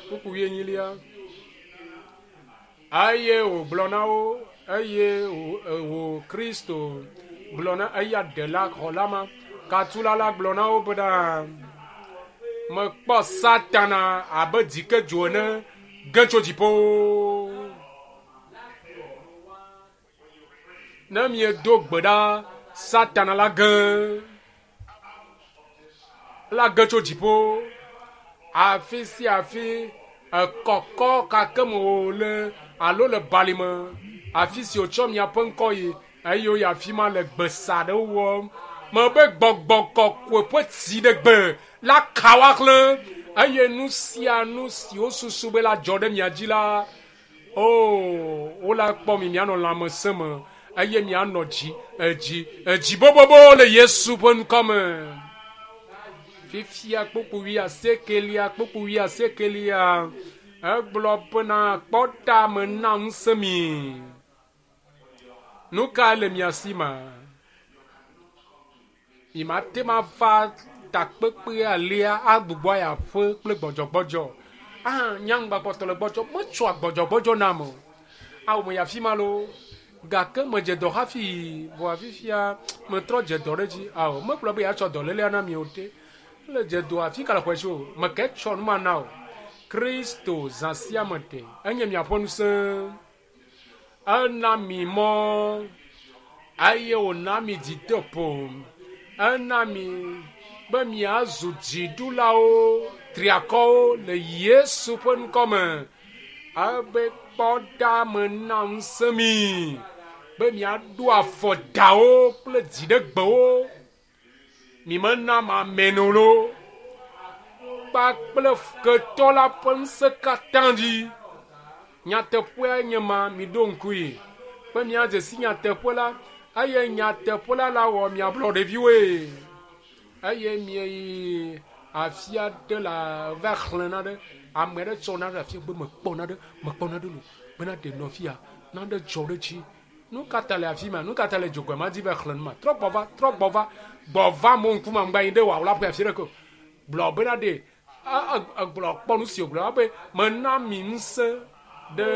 Kpukpu wuienyilia. Eye wògblɔ na wo, eye wò Kristo gblɔ na eya ɖela xɔla ma, katula la gblɔ na wo bena mekpɔ Satana abe dzikedzo ene ge tso dziƒo. Ne miedo gbe ɖa, Satana la ge la ge tso dziƒo. Afi sia afi ekɔkɔ kake me wòle alo le balime, afi si wòtsɔ miaƒe ŋkɔ yi eye woyi afi ma le gbesa ɖewo wɔm. Mebe gbɔgbɔ kɔkɔe ƒe tsi ɖe gbe la ka woaxlẽ eye nu sia nu si wosusu be la dzɔ ɖe mia dzi la, o wola kpɔ mi mianɔ lãmesẽ me eye mianɔ dzi edzi edzi bobobo le Yesu ƒe ŋkɔ me. Fifia kpukpu wuiasiekelia kpukpu wuiasiekelia egblɔ bena kpɔ ɖa mena ŋusẽ mi. Nu ka le mia si ma? Mi mate ma va takpekpe alia agbugbɔ ayi aƒe kple gbɔdzɔgbɔdzɔ. Ah, nyaŋgbakpɔtɔ le gbɔdzɔ metsɔa gbɔdzɔgbɔdzɔ nam o. Awu me yi afi ma loo. Gake medze dɔ hafi vɔa fifia metrɔ dze dɔ ɖe dzi. Awo megblɔ be yeatsɔ dɔlélea na mi o te. Ele dze dɔ afi ka le xɔe si o. Meke tsɔ nu ma na o. Kristo zã sia me te. Enye miaƒe ŋusẽ. Ena mi mɔ eye wòna mi dzideƒo. Ena mi be miazu dziɖulawo triakɔwo le Yesu ƒe ŋkɔ me. Ebe kpɔ ɖa mena ŋusẽ mi be miaɖo afɔ dawo kple dziɖegbewo. Mi mena mameno lo kpakple ketɔ la ƒe ŋusẽ katã dzi. Nyateƒea nye ma miɖo ŋkui be miadze si nyateƒe la eye nyateƒe la la wɔ miablɔ ɖeviwoe. Eye mieyi afi aɖe la va xlẽ na ɖe ame aɖe tsɔ na ɖe afi be mekpɔ na ɖe mekpɔ na ɖe lo bena ɖe nɔ fia na ɖe dzɔ ɖe dzi. Nu ka ta le afi ma? Nu ka ta le dzogoe ma dzi va xlẽ nu ma? Trɔ gbɔ va, trɔ gbɔ va, gbɔ va mo ŋkume ŋgba yi ɖe wòawla ƒe afi ɖe ko. Gblɔ bena ɖe egblɔ kpɔ nu si wògblɔ be mena mi ŋusẽ ɖe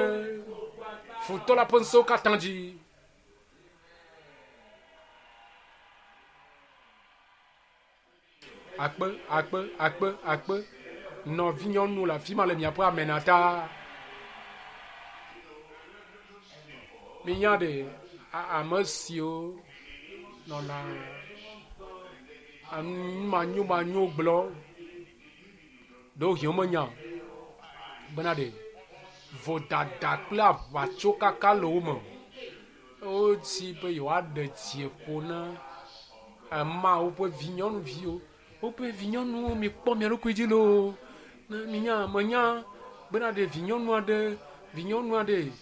futɔ la ƒe ŋusẽwo katã dzi. Akpe, akpe, akpe, akpe. Nɔvinyɔnu le afi ma le miaƒe amena ta. Minya ɖe ame siwo nɔna manyomanyo gblɔ ɖewohĩ womenya o bena ɖe vodada kple aʋatsokaka le wo me. Wodzi be yewoaɖe dziƒo na Mawu ƒe vinyɔnuviwo. Woƒe vinyɔnuwo mikpɔ mia ɖokui dzi loo. Ne minya menya bena ɖe vinyɔnu aɖe vinyɔnu aɖe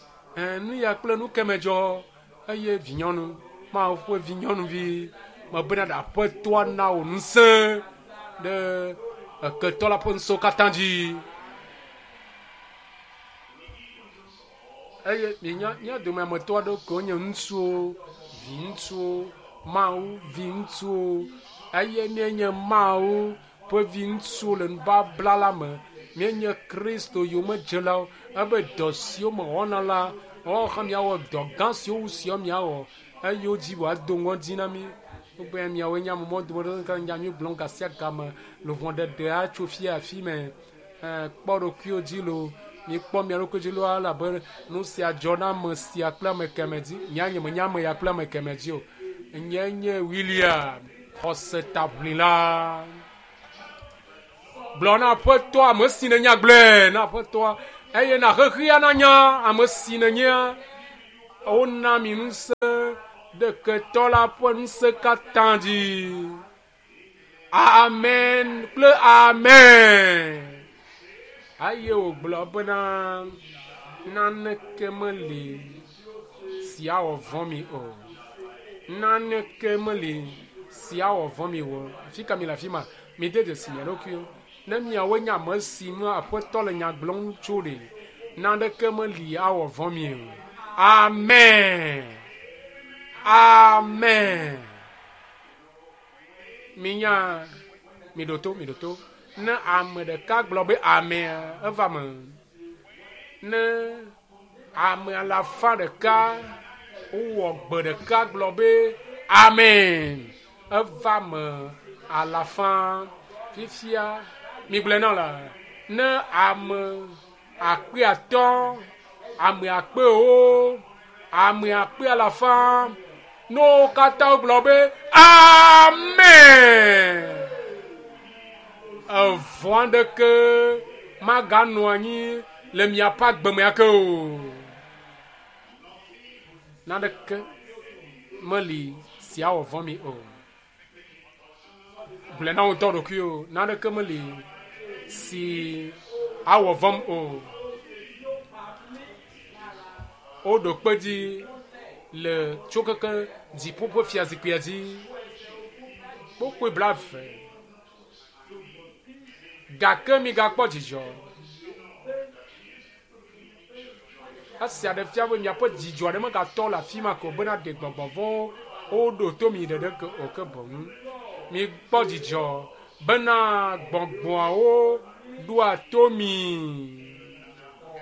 nu ya kple nu keme dzɔ eye vinyɔnu Mawu ƒe vinyɔnuvi mebena ɖe Aƒetɔa na wò ŋusẽ ɖe ketɔ la ƒe ŋusẽwo katã dzi. Eye minya mía dome ametɔ aɖewo ke wonye ŋutsuwo, viŋutsuwo, Mawu viŋutsuwo eye míenye Mawu ƒe viŋutsuwo le nubabla la me. Míenye Kristo yomedzelawo ebe dɔ siwo mewɔna la woawo hã miawɔ dɔ gã siwo wu siwo miawɔ eye wodzi wòado ŋɔdzi na mí. Wogbe miawoe nye ame mɔ dometɔ ɖeka nya nyui gblɔm gasia game luʋɔ ɖeɖea tso fia afi me. Kpɔ ɖokuiwo dzi loo. Mikpɔ mia ɖokui dzi loo elabe nu sia dzɔ na ame sia kple ame keme dzi. Nye nye menya ame ya kple ame keme dzi o. Nye nye William xɔsetaʋlila. Gblɔ na Aƒetɔ ame si nènya gblɔe na Aƒetɔa eye na xexea nanya ame si nènyea. Wona mi ŋusẽ ɖe ketɔ la ƒe ŋusẽ katã dzi. Amen kple amen. Eye wògblɔ bena naneke meli si awɔ vɔ̃ mi o. Naneke meli si awɔ vɔ̃ mi o. Afi ka mi le afi ma? Mi de dzesi mia ɖokuiwo. Ne miawoe nye ame si ŋu Aƒetɔ le nya gblɔm tso ɖe, naneke meli awɔ vɔ̃ mi o. Amen. Amen. Minya, mi ɖo to, mi ɖo to. Ne ame ɖeka gblɔ be amea, eva me. Ne ame alafa ɖeka wowɔ gbe ɖeka gblɔ be amen, eva me alafa. Fifia, mi gblɔe na la, ne ame akpe atɔ̃, ame akpewo, ame akpe alafa, ne wo katã wogblɔ be amen, evɔ̃ aɖeke maganɔ anyi le miaƒe agbeme ake o. Naneke meli si awɔ vɔ̃ mi o. Gblɔe na wo ŋutɔ ɖokuiwo, naneke meli si awɔ vɔ̃m o. Woɖo kpe dzi le tso keke dziƒo ƒe fiazikpuia dzi. Kpokpoe blaeve. Gake migakpɔ dzidzɔ. Esia ɖe fia be miaƒe dzidzɔ aɖe megatɔ le afi ma ko bena ɖe gbɔgbɔ vɔ̃wo woɖo to mi ɖeɖe ke o ke boŋ. Mikpɔ dzidzɔ bena gbɔgbɔawo ɖoa to mi.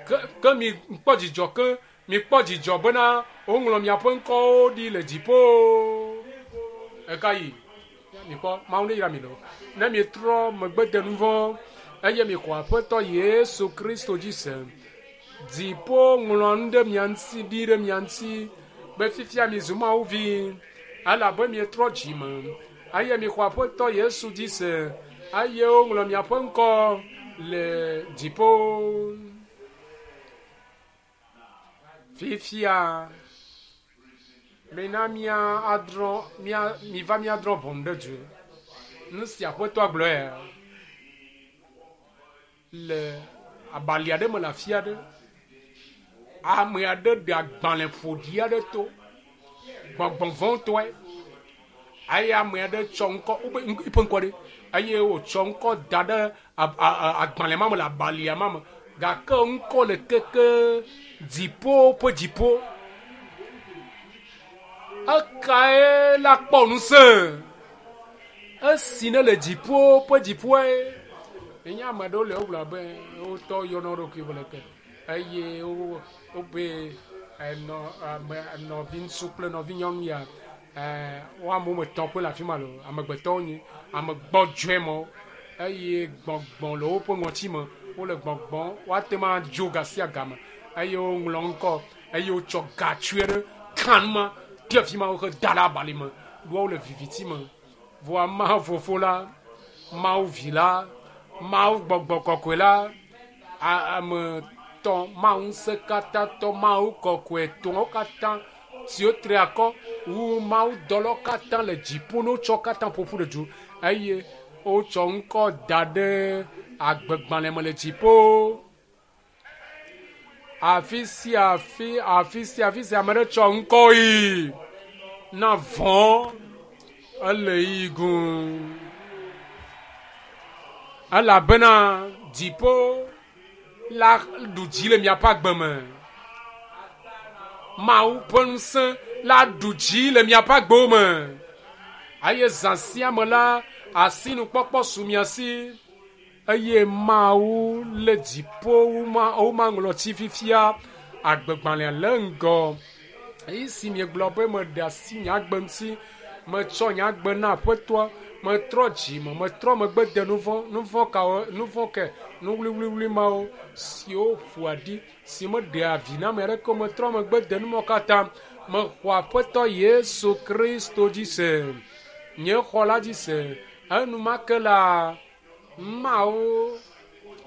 Ke, ke mikpɔ dzidzɔ ke mikpɔ dzidzɔ bena woŋlɔ miaƒe ŋkɔwo ɖi le dziƒo. Eka yi? Mikpɔ Mawu ne yra mi lo. Ne mietrɔ megbe de nu vɔ̃ eye mixɔ Aƒetɔ Yesu Kristo dzi se, dziƒo ŋlɔ nu ɖe mia ŋuti ɖi ɖe mia ŋuti be fifia mi zu Mawu vi elabe mietrɔ dzime eye mixɔ Aƒetɔ Yesu dzi se eye woŋlɔ miaƒe ŋkɔ le dziƒo. Fifia mina mia adrɔ̃ mia miva miadrɔ̃ ʋɔnu ɖe du. Nu si Aƒetɔa gblɔe le abali aɖe me le afi aɖe. Ame aɖe ɖe agbalẽ ƒoɖi aɖe to gbɔgbɔ vɔ̃tɔe eye ame aɖe tsɔ ŋkɔ wobe eƒe ŋkɔ ɖe eye wòtsɔ ŋkɔ da ɖe agbalẽ ma me le abalia ma me gake ŋkɔ le keke dziƒo ƒe dziƒo. Ekae la kpɔ ŋusẽ? Esi ne le dziƒo ƒe dziƒoe. Enye ame aɖewo le wogblɔ be wotɔ yɔna wo ɖokui be leke eye wo wobe enɔ ame nɔviŋutsu kple nɔvinyɔnu ya ɛɛ wo ame woame etɔ̃ koe le afi ma lo amegbetɔwo nyi ame gbɔdzɔe mawo eye gbɔgbɔ le woƒe ŋɔti me wole gbɔgbɔm woate ŋu adzo ga sia game eye woŋlɔ ŋkɔ eye wotsɔ gatsui aɖe ka nu ma de afi ma wohe da ɖe abali me ɖoa wole viviti me. Vɔa Mawu fofo la, Mawu vi la, Mawu gbɔgbɔ kɔkɔe la, ame tɔ Mawu ŋusẽkatãtɔ Mawu kɔkɔe tɔwo katã siwo tri akɔ wu Mawu dɔlawo katã le dziƒo ne wotsɔ katã ƒoƒu ɖe du eye wotsɔ ŋkɔ da ɖe agbegbalẽ me le dziƒo. Afi sia afi, afi sia afi sia ame ɖe tsɔ ŋkɔ yi na vɔ̃ ele yi gum. Elabena dziƒo la ɖu dzi le miaƒe agbe me. Mawu ƒe ŋusẽ la ɖu dzi le miaƒe agbewo me. Eye zã sia me la, asinukpɔkpɔ su mia si eye Mawu le dziƒo womaŋlɔtsi fifia agbegbalẽa le ŋgɔ. Esi miegblɔ be meɖe asi nye agbe ŋuti, metsɔ nye agbe na Aƒetɔa, metrɔ dzime, metrɔ megbe de nu vɔ̃, nu vɔ̃ kawo, nu vɔ̃ ke, nu wluiwluiwlui mawo siwo ƒoa ɖi, si meɖea vi na ame aɖeke o, metrɔ megbe de nu mawo katã. Mexɔ Aƒetɔ Yesu Kristo dzi se, nye xɔ la dzi se. Enumake la, Mawu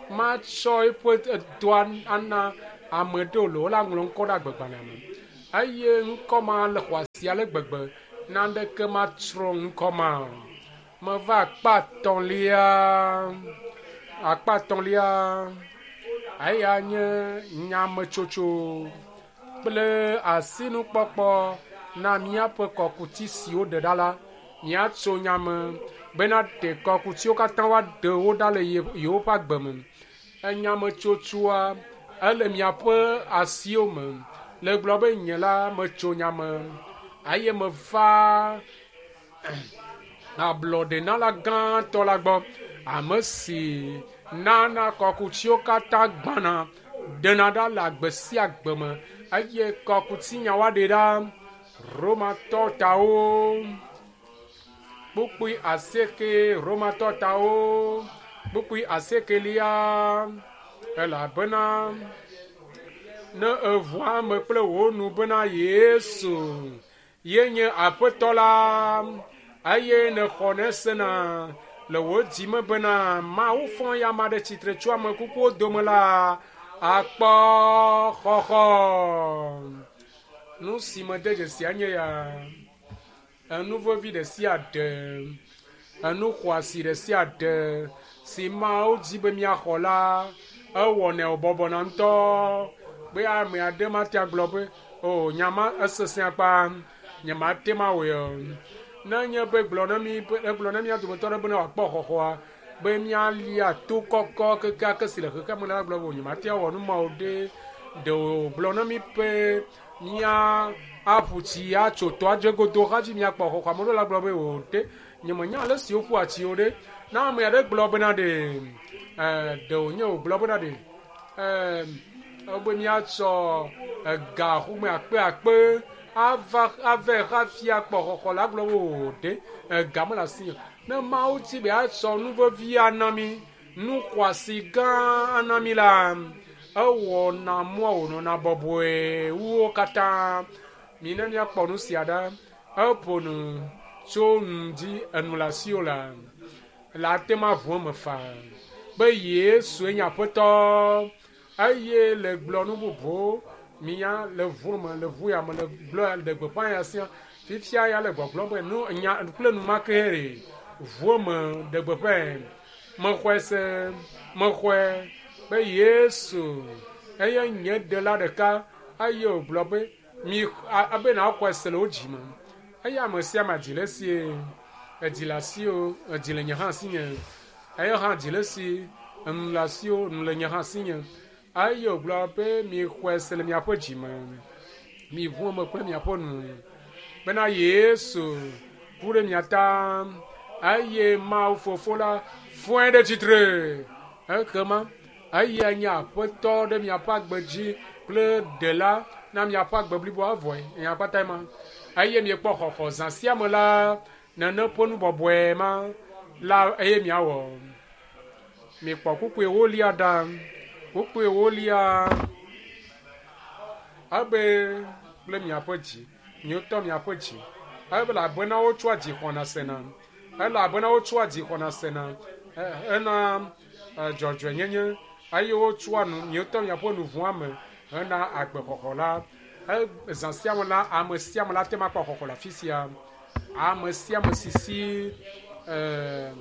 matsɔ eƒe dɔa ana ame ɖewo le wola ŋlɔ ŋkɔ ɖe agbegbalẽa me. Eye ŋkɔ ma le xɔasi ale gbegbe naneke matsrɔ̃ ŋkɔ ma o. Meva akpa etɔ̃lia, akpa etɔ̃lia eya nye nyametsotso kple asinukpɔkpɔ na míaƒe kɔkuti si woɖe ɖa la. Míatso nyame bena ɖe kɔkutiwo katã woaɖe wo ɖa le yewoƒe agbe me. Enyametsotsoa ele miaƒe asiwo me. Le gblɔ be nye la metso nyame eye meva ablɔɖenala gãtɔ la gbɔ. Ame si nana kɔkutiwo katã gbãna ɖena ɖa le agbe sia agbe me eye kɔkuti woaɖe ɖa. Romatɔ tawo kpukpui asieke Romatɔ tawo kpukpui asiekelia elabena ne eʋu ame kple wò nu bena Yesu ye nye Aƒetɔ la eye nexɔ ne sena le wò dzime bena Mawu fɔ ya ame ɖe tsitre tso ame kukuwo dome la akpɔ xɔxɔ. Nu si me de dzesi nye ya enu vevi ɖe sia ɖe enu xɔasi ɖe sia ɖe si Mawu dzi be míaxɔ la ewɔnɛ wòbɔbɔna ŋutɔ be ame aɖe mate agblɔ be o nyama esesẽ akpa nyemate ma wɔe o. Ne nye be gblɔ na mi egblɔ na mía dometɔ ɖe bena wòakpɔ xɔxɔa be míalia to kɔkɔ kekeake si le xexea me la gblɔ be nyemate awɔ nu mawo ɖe ɖe wògblɔ na mi be mía aƒu tsi atso tɔa dze godo hafi míakpɔ xɔxɔ. Ame ɖewo la gblɔ be o ɖe nyemenya ale si woƒua tsi o ɖe. Na ame aɖe gblɔ bena ɖe ɛɛ ɖe wònye wògblɔ bena ɖe ɛɛ be míatsɔ ega xɔme akpe akpe ava ave hafi akpɔ xɔxɔ la gblɔ be o ɖe ega mele asi o. Ne Mawu dzi be atsɔ nu vevi ana mí, nu xɔasi gã ana mí la, ewɔna mɔa wònɔna bɔbɔe wu wo katã. Mina míakpɔ nu sia ɖa. Eƒo nu tso nu dzi enu le asiwò la le ate ŋu aʋu eme faa be Yesue nye Aƒetɔ eye le gblɔ nu bubuwo mia le ʋu me le ʋu ya me le gblɔ le gbeƒã ya sia fifia ya le gbɔgblɔm be nu nya kple nu ma ke ɖe ʋu eme ɖe gbeƒãe. Mexɔe se mexɔe be Yesu eye nye ɖela ɖeka eye wògblɔ be mi abe nàxɔe se le wò dzime eye ame sia ame dzi le esie edzi le asiwò edzi le nye hã asinye eye hã dzi le esi enu le asiwò nu le nye hã asinye eye wògblɔ be mixɔe se le miaƒe dzime miʋu eme kple miaƒe nu bena Yesu ku ɖe mia ta eye Mawu Fofo la fɔe ɖe tsitre ekema eya nye Aƒetɔ ɖe miaƒe agbe dzi kple ɖela na miaƒe agbe bliboa evɔe nya kpatae ma eye miekpɔ xɔxɔ zã sia me la nene ƒe nu bɔbɔe ma la eye miawɔ. Mikpɔ kpukpui ewolia ɖa kpukpui ewolia ebe kple miaƒe dzi miwotɔ miaƒe dzi elabena wotsɔa dzi xɔna sena elabena wotsɔa dzi xɔna sena hena dzɔdzɔenyenye eye wotsɔa nu miwotɔ miaƒe nu ʋua me hena agbexɔxɔ la. Zã sia me la ame sia ame la te ŋu akpɔ xɔxɔ le afi sia. Ame sia ame si si ɛɛ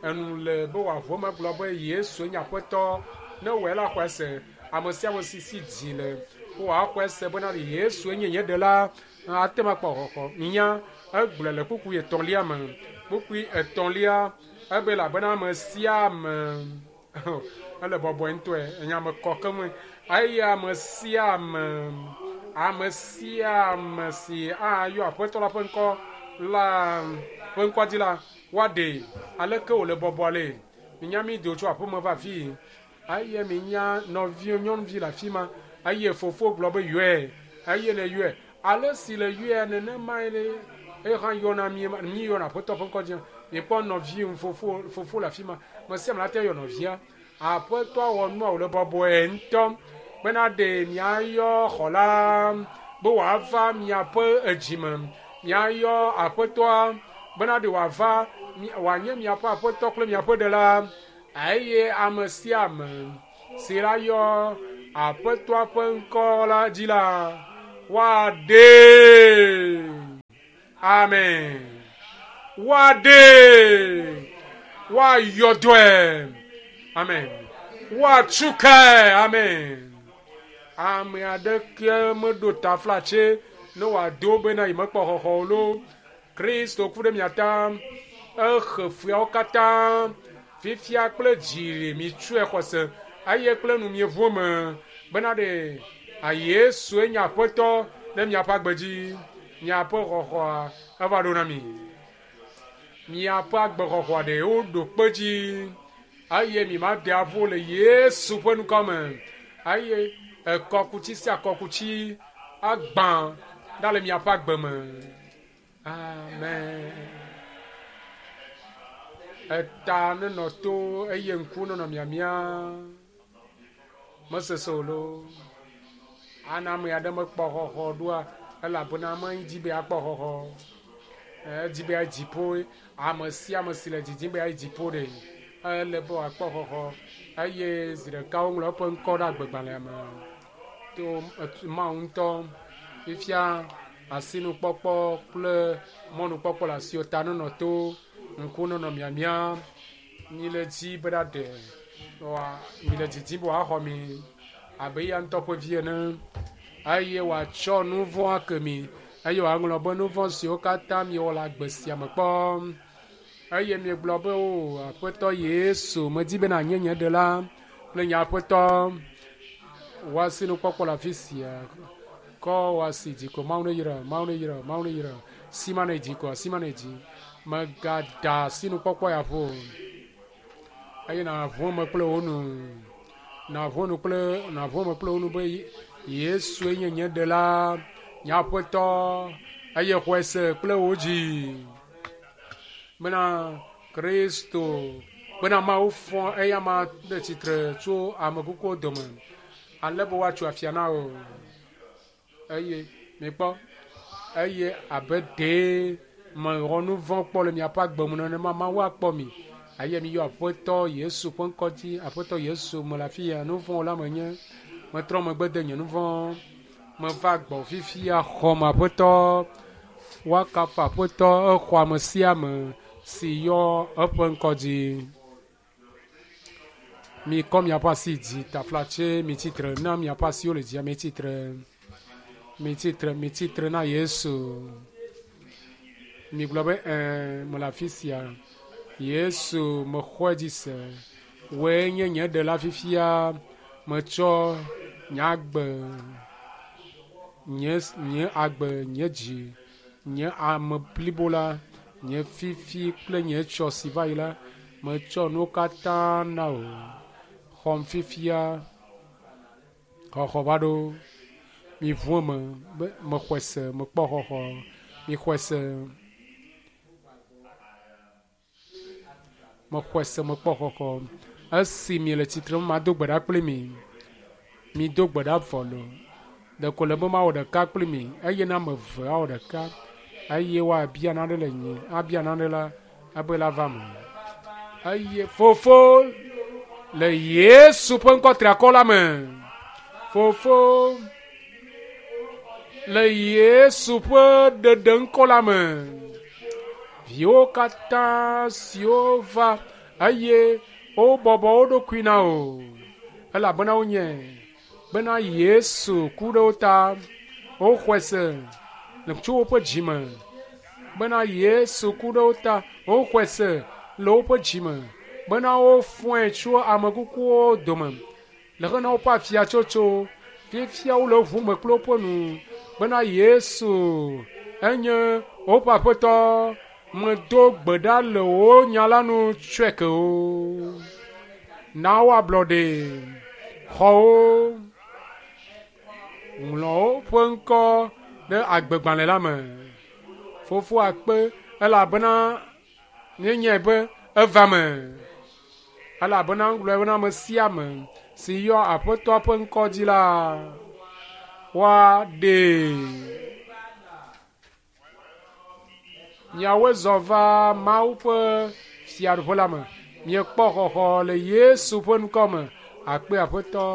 enu le be wòaʋu eme gblɔ be Yesu nye Aƒetɔ ne wɔe la xɔe se. Ame sia ame si si dzi le be wòaxɔe se bena Yesu nye nye ɖela ate ŋu akpɔ xɔxɔ. Nya egblɔe le kpukpui etɔ̃lia me. Kpukpui etɔ̃lia ebe elabena ame sia ame ele bɔbɔe ŋutɔe enya me kɔ keŋ eye ame sia ame ame sia ame si ayɔ Aƒetɔ la ƒe ŋkɔ la ƒe ŋkɔa dzi la woaɖee. Aleke wòle bɔbɔ ale? Minya mi do tso aƒeme va afii eye minya nɔvi nyɔnuvi le afi ma eye fofo gblɔ be yɔe eye ne yɔe ale si le yɔe nenemae eye hã yɔna mi mi yɔna Aƒetɔ ƒe ŋkɔ dzi. Mikpɔ nɔvi fofo fofo le afi ma me sia ame la te yɔ nɔvia. Aƒetɔ wɔ nua wòle bɔbɔe ŋutɔ bena ɖe miayɔ xɔla be wòava miaƒe edzime miayɔ Aƒetɔa bena ɖe wòava wòanye miaƒe Aƒetɔ kple miaƒe ɖela Eye ame sia ame si la yɔ Aƒetɔa ƒe ŋkɔ la dzi la, woaɖee. Amen. Woaɖee. Woayɔ dɔe. Amen. Woatu kae. Amen. Ame aɖeke meɖo taflatse ne wòado bena yi mekpɔ xɔxɔ o loo. Kristo ku ɖe mia ta. Exe fuawo katã. Fifia kple dzi mitsɔe xɔse eye kple nu mieʋu me bena ɖe Yesue nye Aƒetɔ ɖe miaƒe agbe dzi. Miaƒe xɔxɔa eva ɖo na mi. Miaƒe agbexɔxɔa ɖe woɖo kpe dzi eye mi ma de aƒo le Yesu ƒe ŋkɔ me. Eye ekɔkuti sia kɔkuti agbã ɖa le miaƒe agbe me. Amen. Eta nenɔ to eye ŋku nenɔ miamia. Mesese o loo. Ana ame aɖe mekpɔ xɔxɔ ɖoa elabena medzi be akpɔ xɔxɔ. Edzi be ayi dziƒo. Ame sia ame si le dzidzim be ayi dziƒo ɖe, ele be wòakpɔ xɔxɔ. Eye zi ɖeka woŋlɔ eƒe ŋkɔ ɖe agbegbalẽa me. To Mawu ŋutɔ fifia asinukpɔkpɔ kple mɔnukpɔkpɔ le asiwò ta nenɔ to, ŋku nenɔ miamia. Mi le dzi be ɖaɖe, mi le dzidzim be wòaxɔ mi abe eya ŋutɔ ƒe vi ene. Eye wòatsɔ nu vɔ̃ ake mi eye wòaŋlɔ be nu vɔ̃ siwo katã miewɔ le agbe sia me kpɔ. Eye miegblɔ be o Aƒetɔ Yesu, medi be nànye nye ɖela kple nye Aƒetɔ. Wò asinukpɔkpɔ le afi sia. Kɔ wò asi dzi ko Mawu ne yra, Mawu ne yra, Mawu ne yra. Sima ne dzi ko, asima ne dzi. Megada asinukpɔkpɔ ya ƒo. Eye nàʋu eme kple wò nu. Nàʋu nu kple nàʋu eme kple wò nu be Yesue nye nye ɖela, nye Aƒetɔ eye xɔe se kple wò dzi. Bena Kristo, bena Mawu fɔ eya ma ɖe tsitre tso ame kukuwo dome ale be woatso afia na wò. Eye mikpɔ, eye abe ɖee mewɔ nu vɔ̃ kpɔ le miaƒe agbe me nenema Mawu akpɔ mi. Eye miyɔ Aƒetɔ Yesu ƒe ŋkɔ dzi. Aƒetɔ Yesu mele afi ya, nu vɔ̃ la menye. Metrɔ megbe de nye nu vɔ̃. Meva gbɔ fifia xɔm Aƒetɔ. Woakafu Aƒetɔ exɔ ame sia ame si yɔ eƒe ŋkɔ dzi. Mikɔ miaƒe asi dzi taflatse mitsitre na miaƒe asiwo le dzia mitsitre. Mitsitre, mitsitre na Yesu. Migblɔ be ɛɛ mele afi sia. Yesu mexɔe dzi se. Wòe nye nye ɖela fifia. Metsɔ nye agbe, nye nye agbe, nye dzi, nye ame blibo la, nye fifi kple nye tsɔ si va yi la, metsɔ nuwo katã na wò. Xɔm fifia. Xɔxɔ va ɖo. Miʋu eme be mexɔe se, mekpɔ xɔxɔ. Mixɔe se. Mexɔe se, mekpɔ xɔxɔ. Esi miele tsitre mado gbe ɖa kpli mi. Mido gbe ɖa vɔ lo. Ɖeko le be mawɔ ɖeka kpli mi eye na ame eve awɔ ɖeka eye woabia nane le nye, abia nane la, ebe la va me. Eye fofo le Yesu ƒe ŋkɔ triakɔ la me. Fofo le Yesu ƒe ɖeɖe ŋkɔ la me. Viwo katã siwo va eye wobɔbɔ wo ɖokui na wò elabena wonye bena Yesu ku ɖe wo ta. Woxɔe se le tso woƒe dzi me bena Yesu ku ɖe wo ta. Woxɔe se le woƒe dzi me bena wofɔe tso ame kukuwo dome le hena woƒe afiatsotso. Fifia wole ʋu me kple woƒe nu bena Yesu enye woƒe Aƒetɔ. Medo gbe ɖa le wò nya la nu tsɔe ke wo. Na wo ablɔɖe. Xɔ wo. Ŋlɔ woƒe ŋkɔ ɖe agbegbalẽ la me. Fofo akpe elabena míenyae be eva me. Elabena ŋgblɔe bena ame sia ame si yɔ Aƒetɔa ƒe ŋkɔ dzi la, woaɖee. Miawoe zɔ va Mawu ƒe fiaɖuƒe la me. Miekpɔ xɔxɔ le Yesu ƒe ŋkɔ me. Akpe Aƒetɔ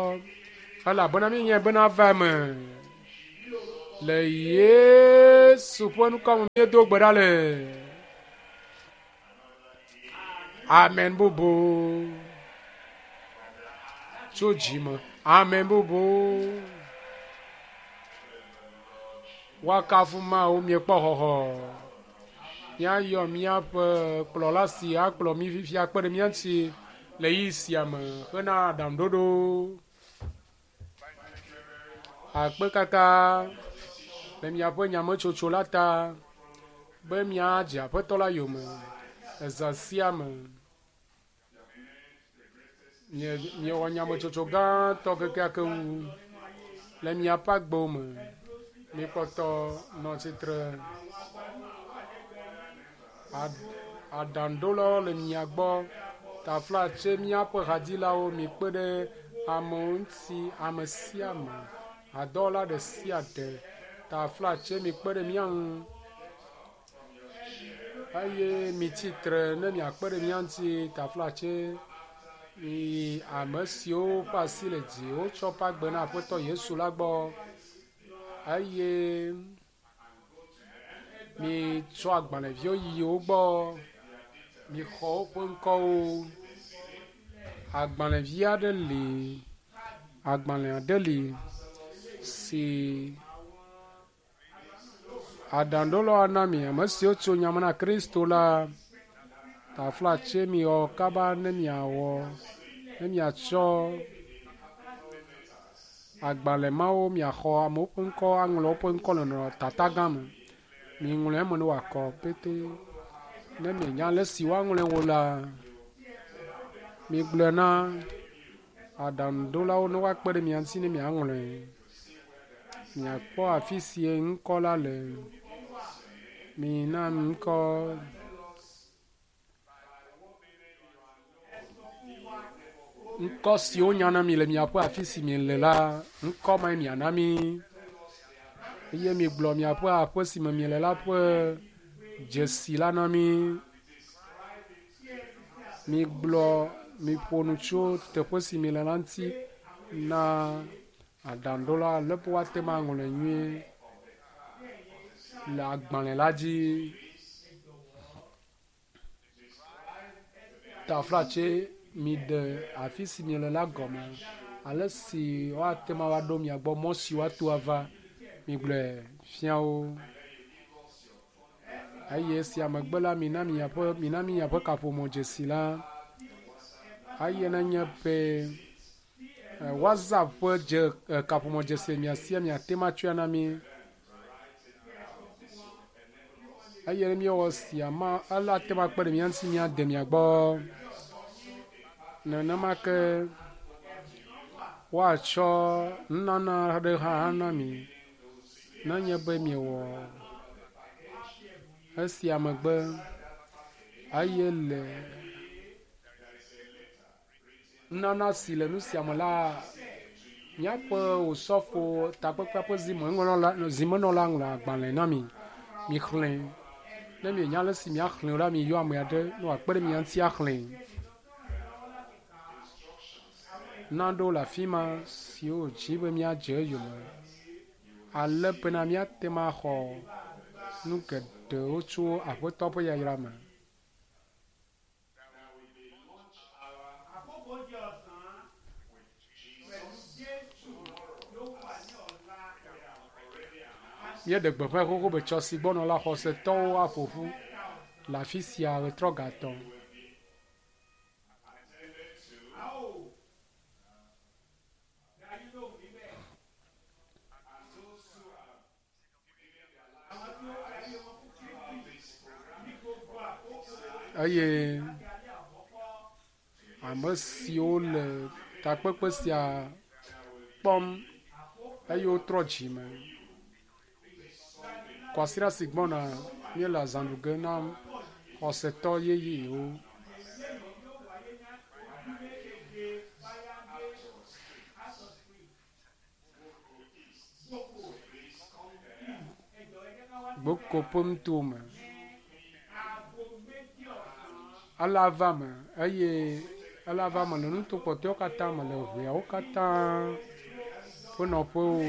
elabena míenyae bena va eme. Le Yesu ƒe ŋkɔ me míedo gbe ɖa le. Amen bubu. Tso dzi me. Amen bubu. Woakafu Mawu miekpɔ xɔxɔ. Míayɔ míaƒe kplɔla si akplɔ mí fifia kpe ɖe mía ŋuti le ɣeyiɣi sia me hena aɖaŋuɖoɖo. Akpe kaka le miaƒe nyametsotso la ta be míadze Aƒetɔ la yome le zã sia me. Mie miewɔ nyametsotso gãtɔ kekeake wu le miaƒe agbewo me. Mikpɔtɔ nɔ tsitre. Aɖaŋuɖolawo le mia gbɔ. Taflatse míaƒe hadzilawo mikpe ɖe amewo ŋuti, ame sia ame, hadɔwɔla ɖe sia ɖe. Taflatse mikpe ɖe mía ŋu eye mitsi tre ne miakpe ɖe mía ŋuti. Taflatse miyi ame siwo ƒe asi le dzi wotsɔ ƒe agbe na Aƒetɔ Yesu la gbɔ eye mitsɔ agbalẽviwo yi wo gbɔ. Mixɔ woƒe ŋkɔwo. Agbalẽvi aɖe li, agbalẽ aɖe li si aɖaŋuɖolawo ana mi ame siwo tso nyame na Kristo la. Taflatse miwɔ kaba ne miawɔ ne miatsɔ agbalẽ mawo miaxɔ amewo ƒe ŋkɔ aŋlɔ woƒe ŋkɔ le nɔ tata gã me. Miŋlɔe eme ne wòakɔ pete. Ne mienya ale si woaŋlɔe wo la, migblɔe na aɖaŋuɖolawo ne woakpe ɖe mia ŋuti ne miaŋlɔe. Miakpɔ afi si ŋkɔ la le. Mina ŋkɔ. Ŋkɔ si wonya na mi le miaƒe afi si miele la, ŋkɔ mae miana mi. Eye migblɔ miaƒe aƒe si me miele la ƒe dzesi la na mi. Migblɔ miƒo nu tso teƒe si miele la ŋuti na aɖaŋuɖola ale be woate ŋu aŋlɔe nyuie le agbalẽ la dzi. Taflatse miɖe afi si miele la gɔme ale si woate ŋu ava ɖo mia gbɔ, mɔ si woato ava migblɔe fia wo. Eye esia megbe la mina miaƒe mina miaƒe kaƒomɔ dzesi la. Eye nenye be WhatsApp ƒe dze kaƒomɔ dzesi le mia sia miate ŋu atsɔe na mi. Eye ne míewɔ sia ma ele ate ŋu akpe ɖe mía ŋuti míade mia gbɔ. Nenema ke woatsɔ nunana aɖe hã ana mi nenye be miewɔ esia megbe eye le nunana si le nu sia me la, míaƒe osɔfo takpekpea ƒe zimenɔla zimenɔla ŋlɔ agbalẽ na mi. Mixlẽ. Ne mienya ale si miaxlẽ o la, miyɔ ame aɖe ne wòakpe ɖe mia ŋuti axlẽ. Naɖewo le afi ma siwo dzi be míadze eyome ale bena míate ŋu axɔ nu geɖewo tso Aƒetɔ ƒe yayra me. Àkókò oúnjẹ ọ̀sán pẹ̀lú Jésù yóò wà ní ọ̀la. Míeɖe gbeƒã xoxo be tsɔ si gbɔnɔ la xɔsetɔwo aƒo ƒu le afi sia ɣetrɔ gatɔ. A ó dá yín lóhùn níbẹ̀. Àwọn tí ó fi ayé wọn fún Kristi ní gbogbo àkókò Eye láti alẹ́ àkọ́kọ́. ame siwo le takpekpe sia kpɔm eye wotrɔ dzime. Kwasiɖa si gbɔna míele azã ɖu ge na xɔsetɔ yeyewo. Gboko ƒe ŋutome. Aago méjì ọ̀sán. Ela va me eye ela va me le nuto kpɔtɔewo katã me le ʋeawo katã ƒe nɔƒewo.